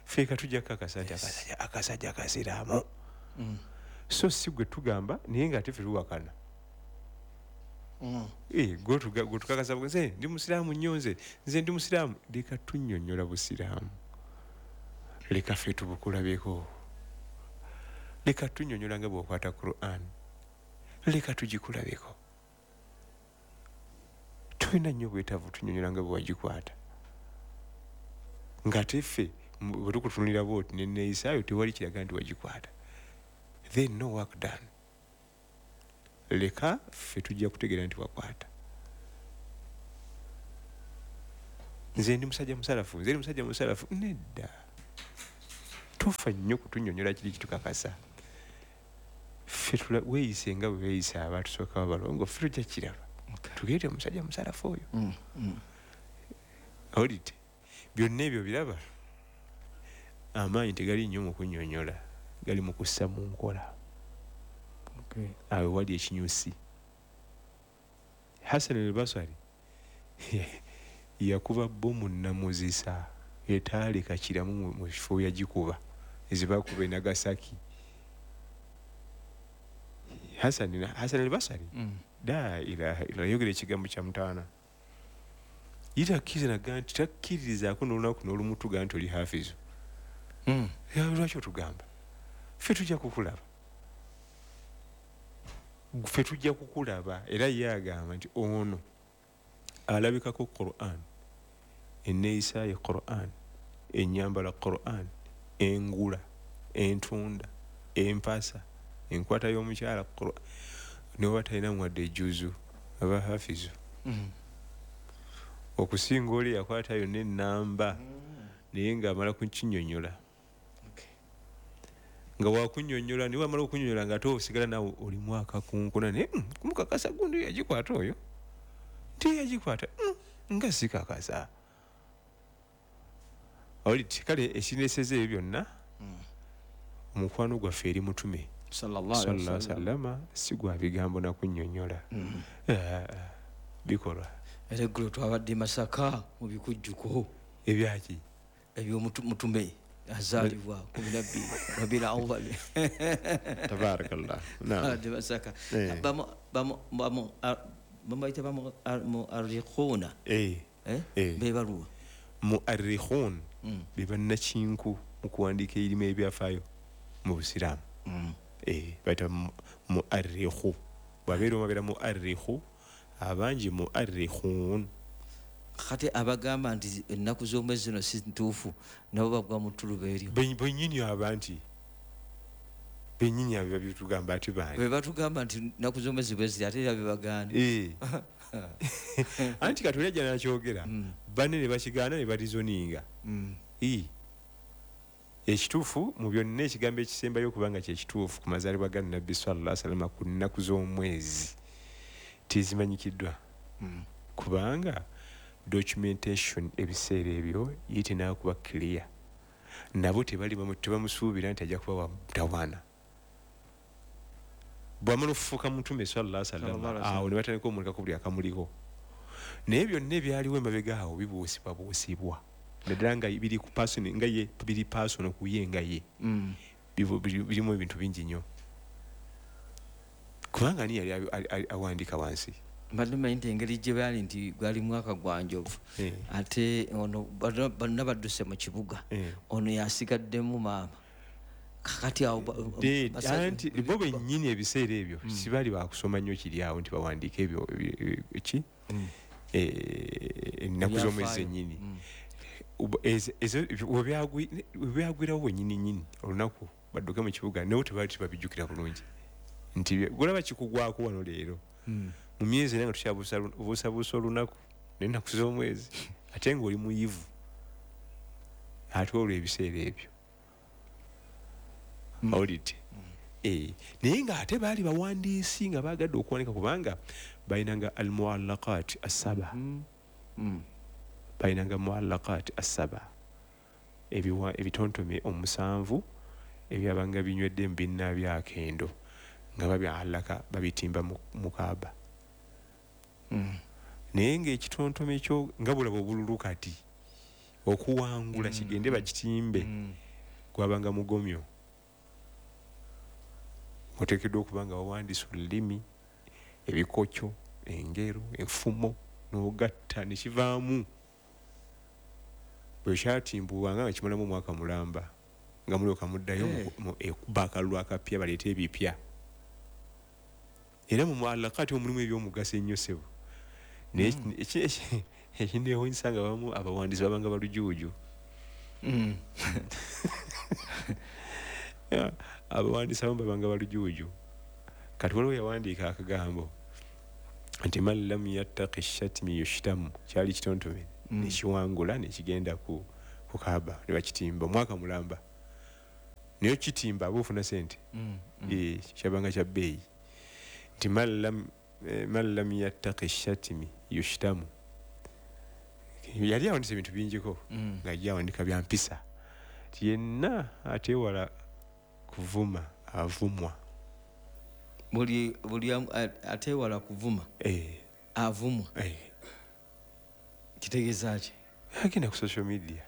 ffeeka tujja kukakasa nti akasajja kasiraamu. So si gwe tugamba naye nga ate ffe tuwakana. Gwe tukakasa nze ndi musiraamu nnyo, nze ndi musiraamu. Leka tunnyonnyola busiraamu. Leka ffe tubukulabeko, leka tunyonyola nga bw'okwata Quran, leka tugikulabeko. Tulina nnyo obwetaavu tunyonyola nga bwe wagikwata, ng'ate ffe bwe tukutunulira bwoti neneeyisaayo tewali kiraga nti wagikwata, then no work done. Leka ffe tujja kutegeera nti wakwata. Nze ndi musajja musalafu, nze ndi musajja musalafu. Nedda, tufa nnyo kutunyonyola kiri kitukakasa. Ffe weeyise nga bwe beeyisa abatusooka babalongo, ffe tujja kiraba tugende musajja musalafu oyo. Awulidde byonna ebyo biraba, amaanyi tegali nnyo mu kunnyonnyola, gali mu kussa mu nkola. Awo wali ekinyusi. Hassan al-Basri yakuba bbomu namuzisa etaaleka kiramu mu kifo yagikuba, ezibakuba e Nagasaki. Hassan al-Basri la ilaha illa, yogera ekigambo kya mutaana, ye takkiriza naga nti takkiririzaako n'olunaku n'olumu tugaa nti oli hafizu. Lwaki otugamba? Ffe tujja kukulaba, ffe tujja kukulaba. Era ye agamba nti ono alabikako Quran, enneeyisa ye Quran, ennyambala Quran, engula, entunda, empasa, enkwata y'omukyala Quran, ne bw'aba talina wadde ejjuzu aba hafizu. Okusinga oli yakwata yonna ennamba naye ng'amala kukinnyonnyola, nga wakunnyonnyola naye wamala okunnyonnyola ng'ate osigala naawe oli mwaka kunkuna, naye kumukakasa gundi yagikwata oyo nti yagikwata nga sikakasa. Awulidde? Kale ekineeseza ebyo byonna, omukwano gwaffe eri mutume sallallahu alaihi wasallama si gwa bigambo na kunnyonnyola, bikolwa. Era eggulo twabadde e Masaka mu bikujjuko ebyaki ebyomutume azaalibwa 12 Rabiul Awwal. Tabarakallah. Naam. Abadde Masaka. Babayita bamuarrikhuna. Bebaluwa muarrikhun be bannakinku mu kuwandiika ebirimu ebyafaayo mu Busiraamu. Bayita muarrikhu, bwabeera omu abeera muarrikhu, abangi muarrikhun. Kati abagamba nti ennaku z'omwezi zino si ntuufu nabo bagwa mu ttuluba eryo. Bennyini aba nti bennyini abo babitugamba ati baani be batugamba nti ennaku z'omwezi bwe ziri, ate era be bagaana. Anti kati oli ajja n'akyogera, banne ne bakigaana ne barizoninga. Ekituufu mu byonna, ekigambo ekisembayo okubanga kyekituufu ku mazaalibwa ga Nabbi sallallahu alaihi wasallam ku nnaku z'omwezi tezimanyikiddwa, kubanga documentation ebiseera ebyo ye tenaakuba clear. Nabo tebali tebamusuubira nti ajja kuba wa mutawaana. Bw'amala okufuuka mutume sallallahu alaihi wasallam, awo ne batandika omulekako buli akamuliko. Naye byonna ebyaliwo emabega awo bibuusibwabuusibwa, naddala nga biri ku person nga ye, biri personal ku ye nga ye. Birimu ebintu bingi nnyo, kubanga ani yali awandiika wansi? Mbadde mmanyi nti engeri gye baali nti gwali mwaka gwa njovu, ate ono bonna badduse mu kibuga, ono yasigaddemu maama. Kakati awo anti bo bennyini ebiseera ebyo sibaali bakusoma nnyo kiri awo nti bawandiike ebyo ki ennaku z'omwezi zennyini. Webyagwirawo wennyini nnyini olunaku badduke mu kibuga, nabo tebaali tebabijjukira bulungi nti golaba kikugwako wano leero mu myezi era nga tukyabuusabuusa olunaku n'ennaku z'omwezi, ate ng'oli muyivu ate olwo ebiseera ebyo. Awulidde? Naye ng'ate baali bawandiisi nga baagadde okuwandika, kubanga balinanga al-muallaqat as-saba, balinanga muallaqat as-saba, ebitontome 7 ebyabanga binywedde mu binna byakendo nga babyalaka babitimba mu Kaaba. Naye ng'ekitontome ekyo nga bulaba obululu kati okuwangula kigende bakitimbe, gwabanga mugomyo. Oteekeddwa okuba nga wawandiisa olulimi, ebikokyo, engero, enfumo, n'ogatta ne kivaamu. Bwe kyatimbulwanga nga kimalamu omwaka mulamba. Nga mulyoka muddayo ekuba akalulu akapya, baleete ebipya. Era mu muallakati omulimu ebyomugaso ennyo ssebo. Naye ekinneewuunyisa nga abamu abawandiisi babanga balujuuju. Abawandiisi abamu babanga balujuuju. Kati waliwo yawandiika akagambo nti man lam yattaqi shatmi yushtamu, kyali kitontome nekiwangula nekigenda ku Kaaba ne bakitimba omwaka mulamba. Naye kitimba aba ofuna sente, kyabanga kya bbeeyi. Nti man lam yattaqi shatmi yushtamu. Yali awandisa ebintu bingiko, nga ye awandika bya mpisa. Nti yenna ateewala kuvuma avumwa. Buli ateewala kuvuma avumwa. Kitegeeza ki? Agenda ku social media,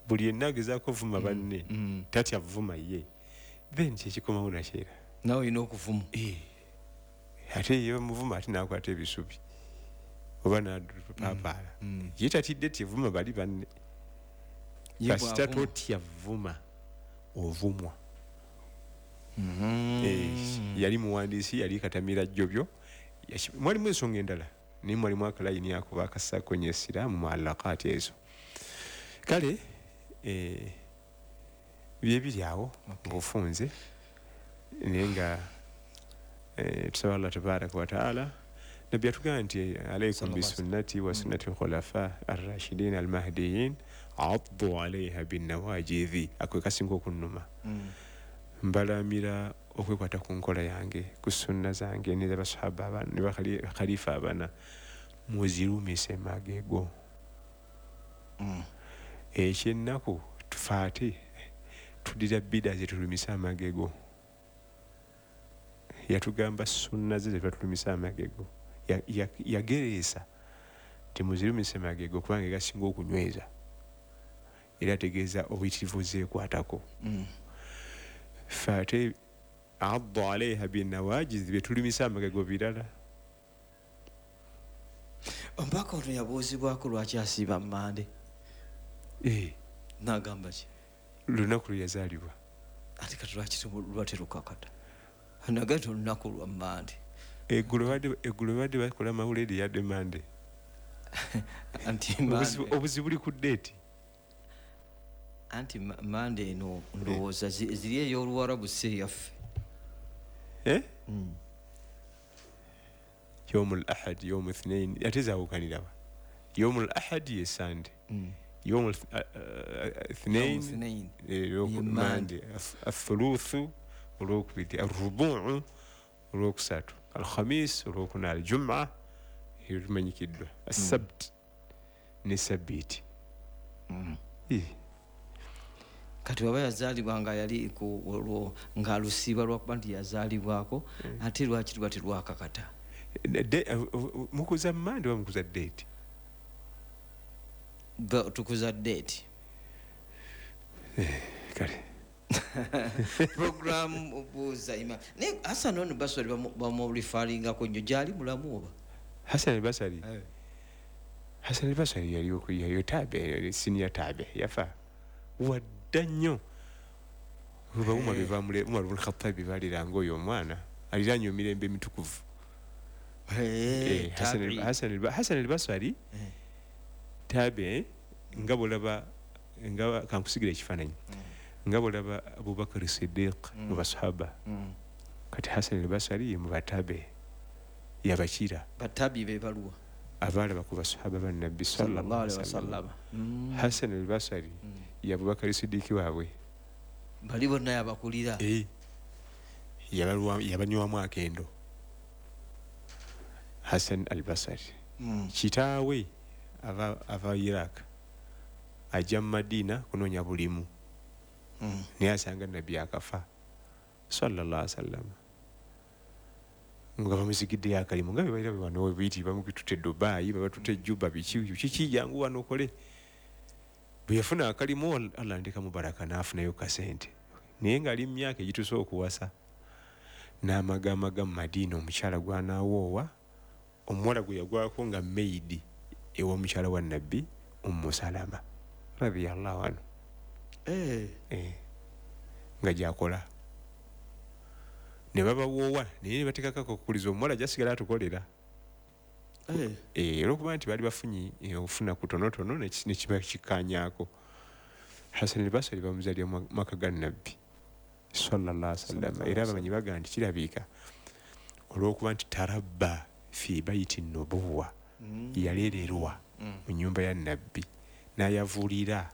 buli yenna agezaako ovuma banne, tatya vuma ye, then kyekikomawo nakyera nawe olina okuvuma. Ate ye bamuvuma ate n'akwata ebisubi oba n'apaapaala. Ye tatidde tevuma bali banne. Kasita totya vuma ovumwa. Yali muwandiisi, yali katamira jjobyo. Mwalimu ensonga endala, naye mwalimu akalayini ako bakassaako nnyo essira mu muallakaati ezo. Kale byebiri awo ng'ofunze, naye nga tusaba Allah tabaraka wa taala. Nabbi yatugamba nti alaikum bisunnati wa sunnati lkhulafa arrashidin almahdiyin addu alaiha binnawajizi. Ako kasinga okunnuma. Mbalamira okwekwata ku nkola yange, ku sunna zange n'ez'abasahaba abana ne bakhalifa abana, muzirumise magego. Ekyennaku tufaate tudira bida zetulumisa amagego. Yatugamba sunna ze zetulumisa amagego. Yagereesa nti muzirumise magego kubanga gasinga okunyweza, era ategeeza obuyitirivu zeekwatako. Ffe addu alaiha binnawajizi byetulumisa amagego birala. Omubaka ono yabuuzibwako lwaki asiiba Mmande. N'agamba ki? Lunaku lwe yazaalibwa. Ate kati lwaki luba terukakata? Nagati olunaku lwa Mmande. Eggulo badde bakola mawulire yadde Mmande. Anti obuzibu buli ku ddeeti. Anti Mmande eno ndowooza ziri ey'Oluwarabu si eyaffe. Yawmul ahad, yawmu ithnain, ate zaawukanirawa. Yawmul ahad ye Sande, yawmul ithnain Mande, athuluthu olwokubiri, arrubuu olwokusatu, alkhamis olwokuna, aljuma erumanyikiddwa, assabt ne sabbiiti. Kati waba yazaalibwa nga yali olwo ng'alusiiba lwakuba nti yazaalibwako, ate lwaki luba terwakakata? Mukuza Mmande oba mukuza ddeeti? Tukuza ddeeti. Kale Program buuza Imam. Naye Hassan ono Basari bamurifaringako nnyo, gyali mulamu oba? Hassan Basari? Hassan Basari yaliyo tabe, senior tabe, yafa wadda nnyo. Umar ibn Khattab baliranga oyo omwana aliranye emirembe emitukuvu. Hassan al-Basri tabe, nga bw'olaba nga kankusigira ekifaananyi, nga bw'olaba Abubakar Siddiq mu basahaba, kati Hassan al-Basri mu batabe yabakira. Batabi be baluwa abalaba ku basahaba ba Nabbi sallallahu alaihi wasallam. Hassan al-Basri ye Abubakar Siddiq waabwe, bali bonna yabakulira. Yabanywamu akendo Hassan al-Basri. Kitaawe ava Iraq ajja mu Madina kunoonya bulimu, naye asanga Nabbi akafa sallallahu alaihi wasallam, nga bamusigiddeyo akalimu nga bebalira wano biyiti bamukitutte Dubai, babatutte Juba, biki kiki, jangu wano okole. Bwe yafuna akalimu Allah andika mubaraka n'afunayo kasente, naye ng'ali mu myaka egituuse okuwasa, n'amagamaga mu Madina omukyala gw'anaawoowa, omuwala gwe yagwako nga maid ew'omukyala wa Nabbi Ummu Salama radiyallahu anhu. Nga gyakola ne babawoowa, naye ne bateekako okukuliza omuwala jasigala atukolera. Olwokuba nti baali bafunye okufuna kutonotono nekiba kikkanyaako. Hasan al-Basri bamuzaalira mu maka ga Nabbi sallallahu alaihi wasallam, era abamanyi bagamba nti kirabika olw'okuba nti tarabba fi baiti nubuwa, yaleererwa mu nnyumba ya Nabbi n'ayavulira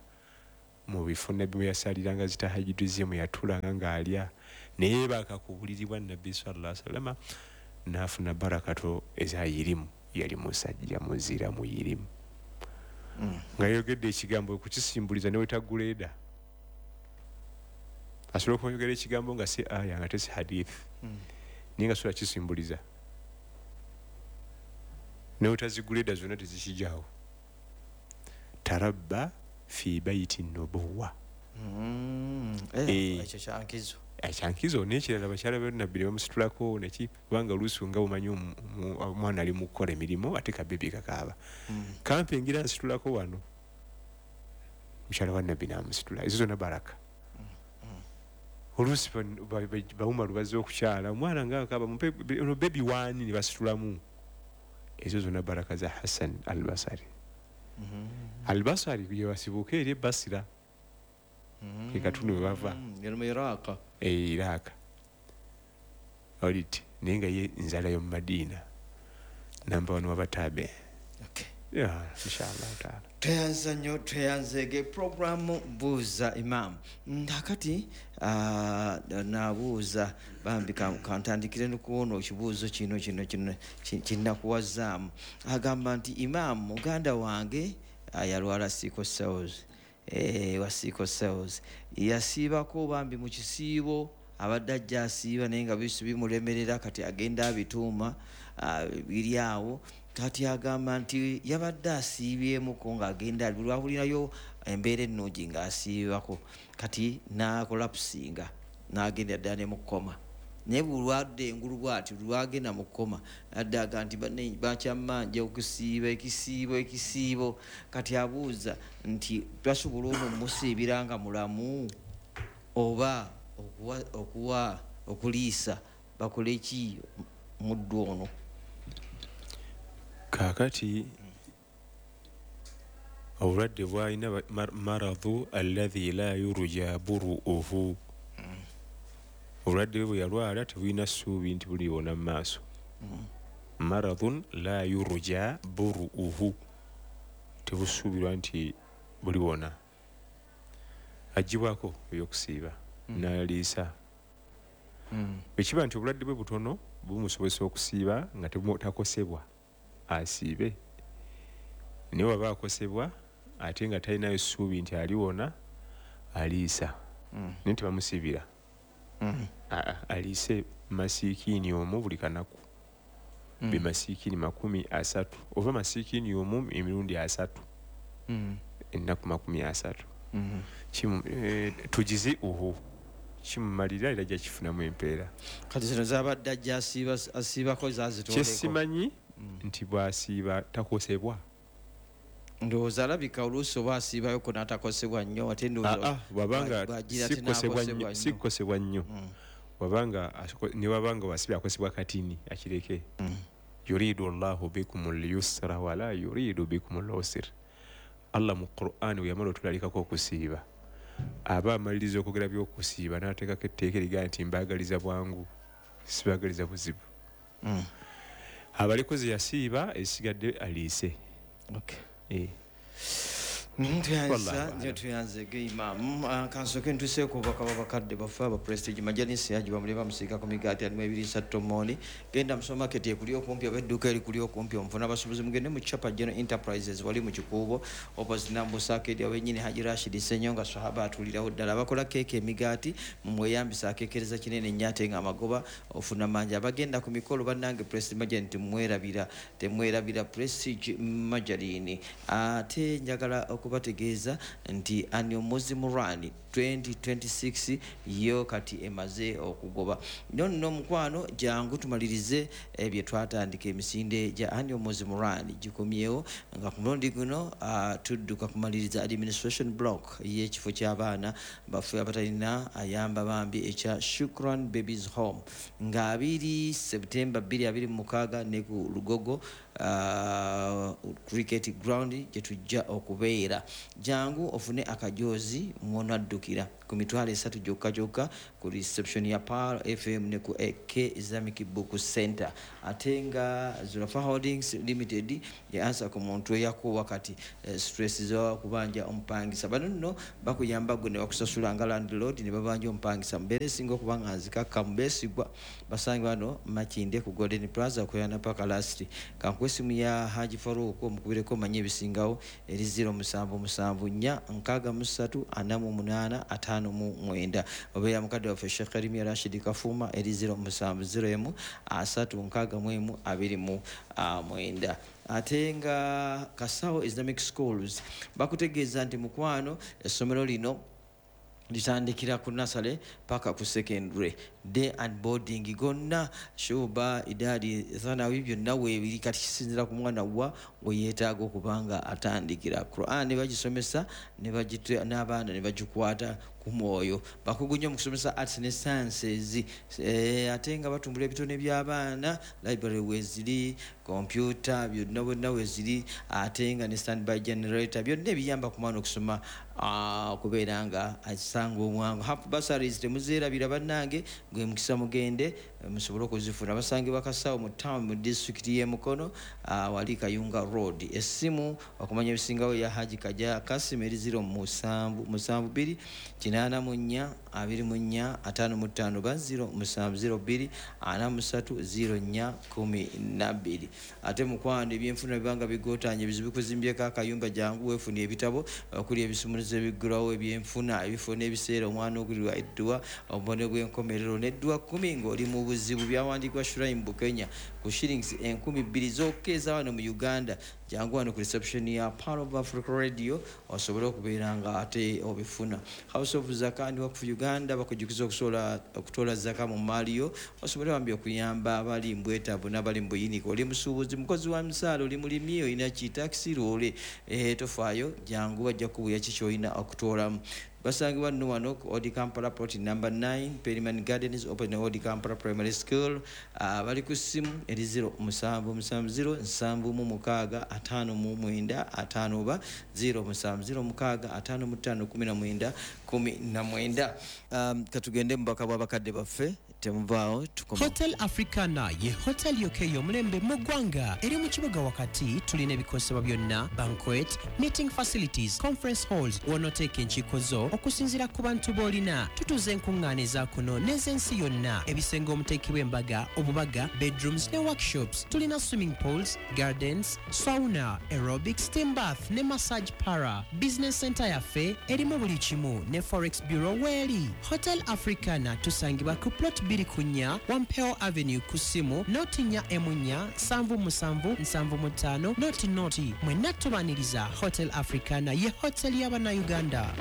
mu bifo Nabbi mwe yasaliranga zitahajjudu ze, mwe yatuulanga ng'alya, neyeebaka ku buliri bwa Nabbi sallallahu alaihi wasallam n'afuna barakato ezayirimu. Yali musajja muzira muyirimu, nga yayogedde ekigambo okukisimbuliza ne wetaguleeda. Asobola okwogera ekigambo nga si aya nga tesi hadith, naye nga sobola kisimbuliza ne wetaziguleeda zonna tezikijaawo. Tarabba fi baiti nubuwa. Ekyo kyankizo. Ekyankizo. N'ekirala bakyala ba Nabbi ne bamusitulako neki, kubanga oluusi nga bumanyi omwana ali mu kukola emirimu ate kabebi kakaaba, kampe ngira nsitulako wano, mukyala wa Nabbi n'amusitula. Ezo zonna baraka. Oluusi bawumalu bazze okukyala omwana nga akaaba, mumpe ono bebi waani, ne basitulamu. Ezo zonna baraka za Hasan al-Basri. Al-Basri gye basibuka eri e Basira, ke katundu we bava Iraq oliti, naye nga ye nzala y'omu Madiina, namba wano wabataabe. Inshallah taala. Tweyanza nnyo, tweyanzeege programu Buuza Imaamu. Kakati nabuuza bambi kantandikire nokuwona ekibuuzo kino kino kino kinnakuwazaamu. Agamba nti imaamu muganda wange yalwala sickle cells, wa sickle cells, yasiibako bambi mu kisiibo, abadde ajja asiiba naye nga bisu bimulemerera, kati agenda abituuma biri awo. Kati agamba nti yabadde asiibyemuko ng'agenda lwawulirayo embeera ennungi ng'asiibako, kati n'akolapsinga n'agenda ddala ne mu kkoma. Naye bulwadde engulu bw'ati lwagenda mu kkoma, adde aga nti bakyammanja okusiiba ekisiibo ekisiibo. Kati abuuza nti basobola ono mumusiibira nga mulamu oba okuwa okuliisa bakole ki muddu ono? Kaakati obulwadde bwalina maradhu alladhi la yurja buruuhu, obulwadde bwe bwe yalwala tebulina ssuubi nti buliwona mu maaso. Maradhun la yurja buruuhu, tebusuubirwa nti buliwona. Aggyibwako ebyokusiiba n'aliisa. Bwe kiba nti obulwadde bwe butono bumusobozesa okusiiba nga takosebwa, asiibe. Naye waba akosebwa ate nga talinayo ssuubi nti aliwona, aliisa. Naye tebamusiibira. Aliise masiikiini omu buli kanaku, be masiikiini 30 oba masiikiini omu emirundi 30, ennaku 30. Tugize uhu kimumalira era ajja kifunamu empeera. Kati zino zabadde ajja asiibako zazitoleko. Kyesimanyi nti bw'asiiba takosebwa. Ndowooza alabika oluusi oba asiibayoko n'atakosebwa nnyo, ate ndowooza bw'abanga sikosebwa nnyo, wabanga ne wabanga wasiiba akosebwa katini akireke. Yuridu Allahu bikumul yusra wala yuridu bikumul usra. Allah mu Qur'an we yamala otulalikako okusiiba, aba amaliriza okwogera by'okusiiba n'ateekako etteeka erigaa nti mbaagaliza bwangu, sibaagaliza buzibu. Abalikoze yasiiba esigadde aliise. Tweyanzege imaamu. Kansooke ntuuseeko obubaka bw'abakadde baffe aba Prestige Majanisi Haji bamule bamusiika ku migaati alimu ebiriisa tomooni. Genda mu supermarket ekuli okumpi oba edduuka erikuli okumpi omufuna abasuubuzi, mugende mu Chapa General Enterprises wali mu Kikuubo opposite Nambusa Arcade awennyini Haji Rashid Ssenyonga Swahaba atuulirawo ddala. Abakola keeke emigaati mumweyambisa, akeekereza kinene nnyo ate nga amagoba ofuna mangi. Abagenda ku mikolo bannange Prestige Margarine temwerabira, temwerabira Prestige Margarine. Ate njagala Okubategeeza nti Annual Muslim Run 2026 yo kati emaze okugoba. Nonno mukwano, jangu tumalirize bye twatandika. Emisinde gya Annual Muslim Run gikomyewo nga ku mulundi guno tudduka kumaliriza administration block y'ekifo ky'abaana baffe abatalina ayamba bambi ekya Shukran Babies Home, nga 2 September 2026 ne ku Lugogo Cricket Ground gye tujja okubeera. Jangu ofune akajozi mwonaddukira ku 30,000 gyokka gyokka ku reception ya Pearl FM ne ku AK Islamic Book Center. Ate nga Zulafa Holdings Limited ye answer ku muntu eyakuwa kati stress z'okubanja omupangisa. Bano nno bakuyamba gwe ne bakusasula nga landlord ne babanja omupangisa. Mbeera esinga okuba nga nzikakkamu, beesigwa. Basange bano Makindye ku Golden Plaza okuyana paka last. Kankuwa essimu ya Haji Farouk, omukubireko omanye ebisingawo, eri 0774 63 48 59, oba ya mukadde waffe Sheikh Karimya Rashid Kafuma eri 0701 361 29. Ate nga Kasawo Islamic Schools bakutegeeza nti mukwano, essomero lino litandikira ku nursery paka ku secondary, day and boarding gonna, shuba, idadi, thanawi, byonna weebiri. Kati kisinzira ku mwana wa we yeetaaga okuba nga atandikira. Quran bagisomesa n'abaana ne bagikwata ku mwoyo. Bakugu nnyo mu kusomesa arts ne sciences, ate nga batumbula ebitone by'abaana. Library weeziri, computer byonna bonna weeziri, ate nga ne standby generator, byonna ebiyamba ku mwana okusoma, okubeera nga asanga omwangu. Half bursaries temuzeerabira bannange, gwe mukisa mugende musobole okuzifuna. Basangibwa Kasawo mu town mu disitulikiti y'e Mukono, wali Kayunga Road. Essimu okumanya ebisingawo ya Haji Kaja Kasim eri 0772 84 24 55 ba 0702 43 04 12. Ate mukwano, ebyenfuna bibanga bigootanye, ebizibu bikuzimbyeko akayumba, jangu weefuna ebitabo okuli ebisumuluzo ebiggulawo ebyenfuna, ebifo n'ebiseera omwana ogulirwa edduwa, obubone bw'enkomerero n'edduwa 10 ng'oli mu buzibu, byawandiikibwa Shuraim Bukenya, ku shillings 2,000 zokka eza wano mu Uganda. Jangu wano ku reception ya Pearl of Africa Radio osobole okubeera nga ate obifuna. House of Zaka and Wakfu Uganda bakujjukiza okusobola okutoola zaka mu maali yo, osobole bambi okuyamba abali mu bwetaavu n'abali mu buyinike. Oli musuubuzi, mukozi wa misaala, oli mulimi, olina kitakisi, loole, tofaayo, jangu bajja kubuya ki kyolina okutoolamu. Basangibwa nno wano ku Old Kampala, plot number 9, Perryman Gardens, opposite Old Kampala Primary School. Bali ku ssimu eri 0770 76 59 5 oba 0706 55 19 19. Katugende mu bubaka bw'abakadde baffe, temuvaawo, tukoma. Hotel Africana ye hotel yokka ey'omulembe mu ggwanga eri mu kibuga wakati. Tulina ebikozesebwa byonna, banquet, meeting facilities, conference halls w'onooteeka enkiiko zo okusinziira ku bantu b'olina. Tutuuza enkuŋŋaana eza kuno n'ez'ensi yonna, ebisenge omuteekebwa embaga, obubaga, bedrooms ne workshops. Tulina swimming pools, gardens, sauna, aerobic, steam bath ne massage parlour. Business center yaffe erimu buli kimu ne forex bureau weeri. Hotel Africana tusangibwa ku plot 24 Wampeo Avenue, ku ssimu 0 4 4 77 75 00. Mwenna tubaniriza. Hotel Africana ye hotel y'Abannayuganda.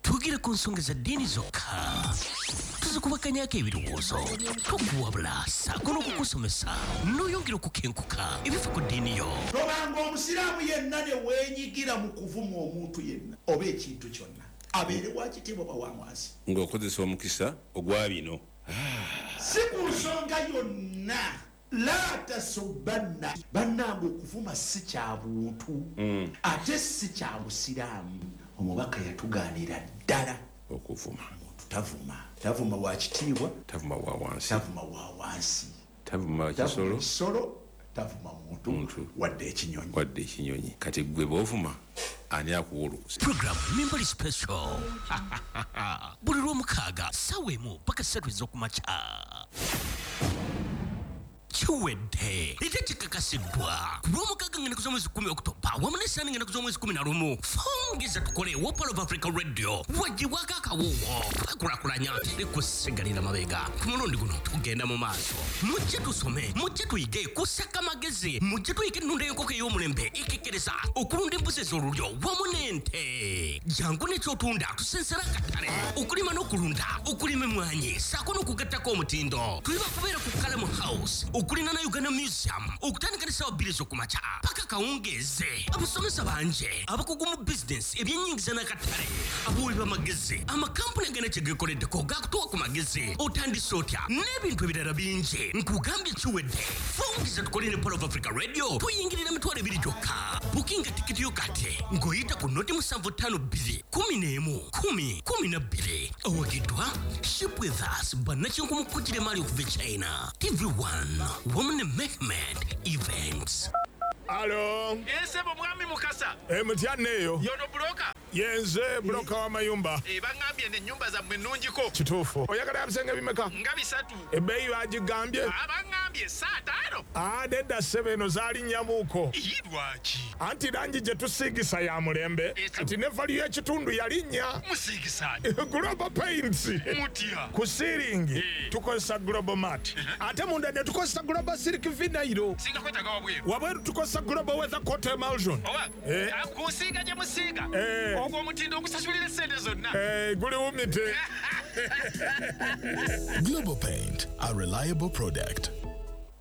Twogere ku nsonga za ddiini zokka, tuzikubakanyako ebirowoozo, tukuwabula ssaako n'okukusomesa n'oyongera okukenkuka ebifa ku ddiini yo. Tobanga omusiraamu yenna ne weenyigira mu kuvuma omuntu yenna oba ekintu kyonna, abeere wa kitiibwa oba wa wansi, ng'okozesa omukisa ogwa bino. Si ku nsonga yonna. La tasubanna. Bannange, okuvuma si kya buntu, ate si kya busiraamu. Omubaka yatugaanira ddala okuvuma. Omuntu tavuma, tavuma wa kitiibwa, tavuma wa wansi, tavuma wa wansi, tavuma tavuma kisolo, kisolo, tavuma muntu wadde ekinyonyi. Wadde ekinyonyi. Kati gwe bw'ovuma, ani akuwa olukusa? Program Mimbali Special buli lwomukaaga 1 paka 3 ez'okumakya. Kiwedde era kikakasiddwa ku Lwomukaaga ng'ennaku z'omwezi 10 Okutoba wamu n'Essaani ng'ennaku z'omwezi 11. Fungiza tukole wa Pearl of Africa Radio wagibwako akawuwo twekulakulanya teri kusigalira mabega. Ku mulundi guno tugenda mu maaso. Mujje tusome, mujje tuyige kusaka magezi, mujje tuyige ennunda y'enkoko ey'omulembe ekekkereza okulunda embuzi ez'olulyo wamu n'ente. Jangu n'ekyotunda tusensera akatale, okulima n'okulunda, okulima emmwanyi ssaako n'okugattako omutindo. Tuli bakubeera ku Kalamu House okulinaana Uganda Museum okutandika n'essaawa 2 ez'okumakya paka kawungeeze. Abasomesa bangi, abakugu mu bizinensi, ebyennyingiza n'akatale, abawi b'amagezi, amakampuni agana kye geekoleddeko gakutuwa ku magezi, otandise otya n'ebintu ebirala bingi. Nkugambye kiwedde. Fungiza tukole ne Pearl of Africa Radio tuyingirira 20,000 gyokka. Bukinga tikiti yo kati ng'oyita ku 0752 11 10 12. Owagiddwa Ship With Us bannakinku mu kukira emaali okuva e China, TV1 wamu ne Mehmed Events. Alo. Esebo mwami Mukasa. Mutya neyo. Yono broker. Yenze broker wa mayumba. Bangambye ne nyumba zammwe nnungiko. Kituufu. Oyagala ebisenge bimeka? Nga 3. Ebbeeyi bagigambye? Abangambye 5. Nedda ssebo, eno zaali nnyamuuko. Lwaki? Anti langi gye tusiigisa ya mulembe. Kati ne value y'ekitundu yalinnya. Musiigisa Global Paints. Mutya? Ku siiringi tukozesa Global Mat. Ate munda ne tukozesa Global Silk Vinyl. Singa kwetaaga wabweru. Wabweru tukozesa Global Weather Coat Emulsion. Oba kusiiga gye musiiga. Ogwo omutindo ogusasulira essente zonna. Guli wumite. Global Paint, a reliable product.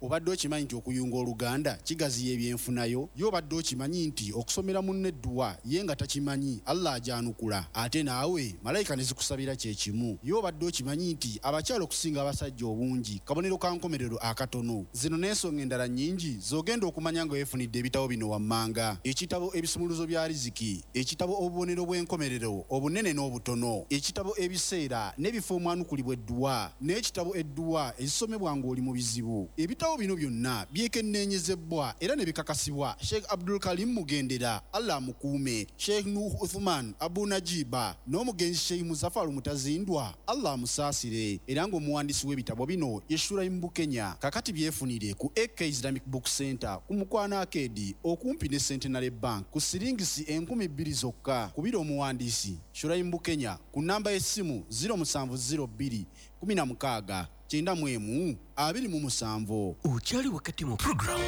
Obadde okimanyi nti okuyunga oluganda kigaziya ebyenfunayo? Ye obadde okimanyi nti okusomera munne edduwa ye nga takimanyi Allah ajanukula, ate naawe malayika ne zikusabira kye kimu? Ye obadde okimanyi nti abakyala okusinga abasajja obungi kabonero ka nkomerero akatono? Zino n'ensonga endala nnyingi z'ogenda okumanya nga weefunidde ebitabo bino wammanga: ekitabo Ebisumuluzo bya Riziki, ekitabo Obubonero bw'enkomerero obunene n'obutono, ekitabo Ebiseera n'ebifo omwanukulibwa edduwa, n'ekitabo Edduwa ezisomebwa ng'oli mu bizibu. Ebitabo bino byonna byekenneenyezebwa era ne bikakasibwa Sheikh Abdul Karim Mugendera, Allah amukuume, Sheikh Nuh Uthman Abu Najiba n'omugenzi Sheikh Muzafaru Mutazindwa, Allah amusaasire. Era ng'omuwandiisi w'ebitabo bino ye Shuraim Bukenya. Kakati byefunire ku AK Islamic Book Center ku Mukwano Arcade okumpi ne Centenary Bank ku siringisi 2,000 zokka. Kubira omuwandiisi Shuraim Bukenya ku namba y'essimu 0702 16 91 27. Okyali wakati mu program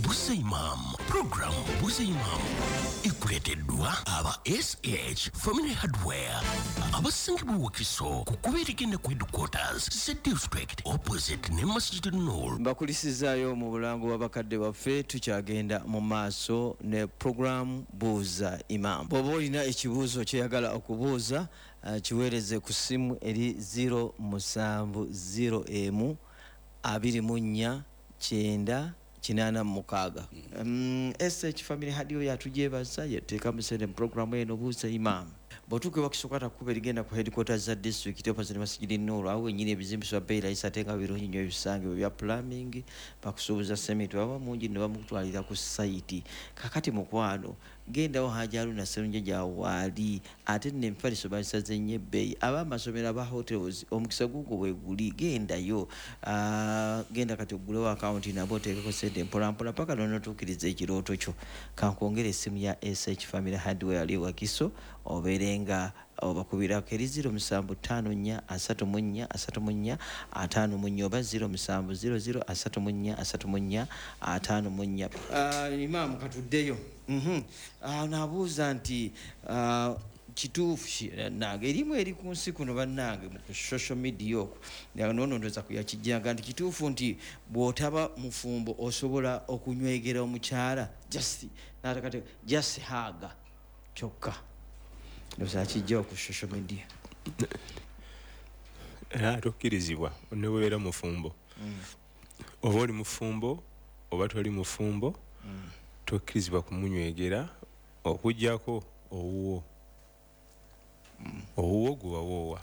Buuza Imam. Program Buuza Imam ekuleeteddwa aba SH Family Hardware abasangibwa Wakiso ku kkubo erigenda ku headquarters ze district opposite ne Masjid Nur. Mbakulisizaayo mu bulango bw'abakadde baffe. Tukyagenda mu maaso ne program Buuza Imam. Bw'oba olina ekibuuzo kyeyagala okubuuza, kiweereze ku ssimu eri 0701 24 9 86. SH Family Hardware yatugyebaza yateekamu ssente mu programu eno Buuza Imam. Bw'otuuka e Wakiso kwata kkubo erigenda ku headquarters za district opposite Masjid Nur, awo wennyini ebizimbisibwa bbeeyi layisi ate nga birungi nnyo ebisangibwa bya plumbing, bakusuubuza sementi baba mungi ne bamukutwalira ku sayiti. Kakati mukwano gendawo Haji Haruna Sserunjogi waali, ate nno emifaliso bagisaze nnyo ebbeeyi. Ab'amasomero, aba hotels, omukisa gugwo bwe guli, gendayo. Genda kati oggulewo akawunti nabo oteekeko ssente mpolampola paka lw'onootuukiriza ekirooto kyo. Kankwongere essimu ya SH Family Hardware ali Wakiso, obeere nga obakubirako eri 0754 34 34 54 oba 0700 34 34 54. Imaamu katuddeyo. Nabuuza nti kituufu nange erimu eri ku nsi kuno bannange mu social media okwo noono ndowooza kuyakijjanga nti kituufu nti bw'otaba mufumbo osobola okunywegera omukyala just natakate just haga kyokka? Ndowooza akijja ku social media. Era tokkirizibwa ne bw'obeera mufumbo. Oba oli mufumbo oba toli mufumbo, tokkirizibwa kumunywegera okuggyako owuwo. Owuwo gwe wawoowa.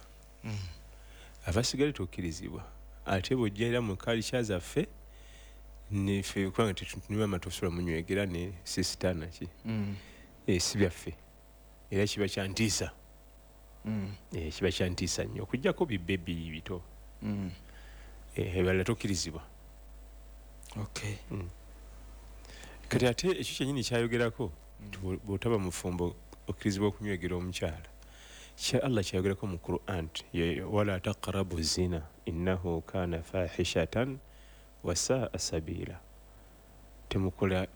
Abasigale tokkirizibwa. Ate bw'ojja era mu culture zaffe neffe kubanga tetunywa tosobola munywegera ne sister naki. Si byaffe. Era kiba kya ntiisa. Kiba kya ntiisa nnyo okuggyako bibebi bito. Ebirala tokkirizibwa. Okay. Kati ate ekyo kyennyini kyayogerako nti bw'otaba mufumbo okkirizibwa okunywegera omukyala, kya Allah kyayogerako mu Quran nti wala taqrabu zina innahu kana fahishatan wasaa sabila,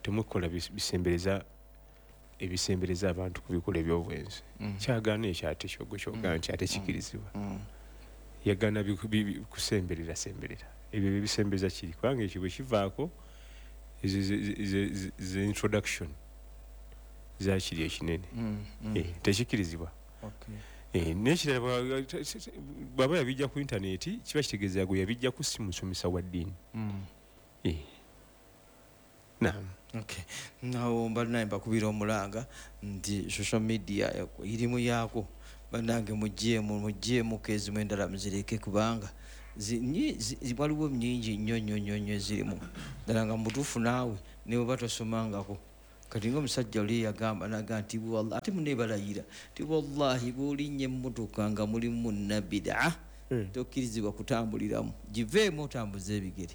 temukola bisembereza ebisembereza abantu ku bikolwa eby'obwenzi. Kyagaana ekyo ate kyogwo kyogaana nti ate kikirizibwa. Yagaana kusemberera semberera ebyo byebisembereza kiri, kubanga ekyo bwe kivaako ze introduction zakiri ekinene. Tekikirizibwa. N'ekirala bw'aba yabijja ku intaneti kiba kitegeeza gwe yabijja ku si musomesa wa ddiini. Naam. Okay. Nawo bannange mbakubira omulanga nti social media irimu yaako, bannange mugyeemu kezimu endala muzireke, kubanga waliwo nyingi nnyo nnyo nnyo nnyo ezirimu ddala nga mutuufu naawe ne bw'oba tosomangako. Kati ng'omusajja oli yagamba naga nti wallahi, ate muneebalayira nti wallahi bw'olinnya emmotoka nga mulimu munnabidaa tokkirizibwa kutambuliramu, giveemu otambuze ebigere.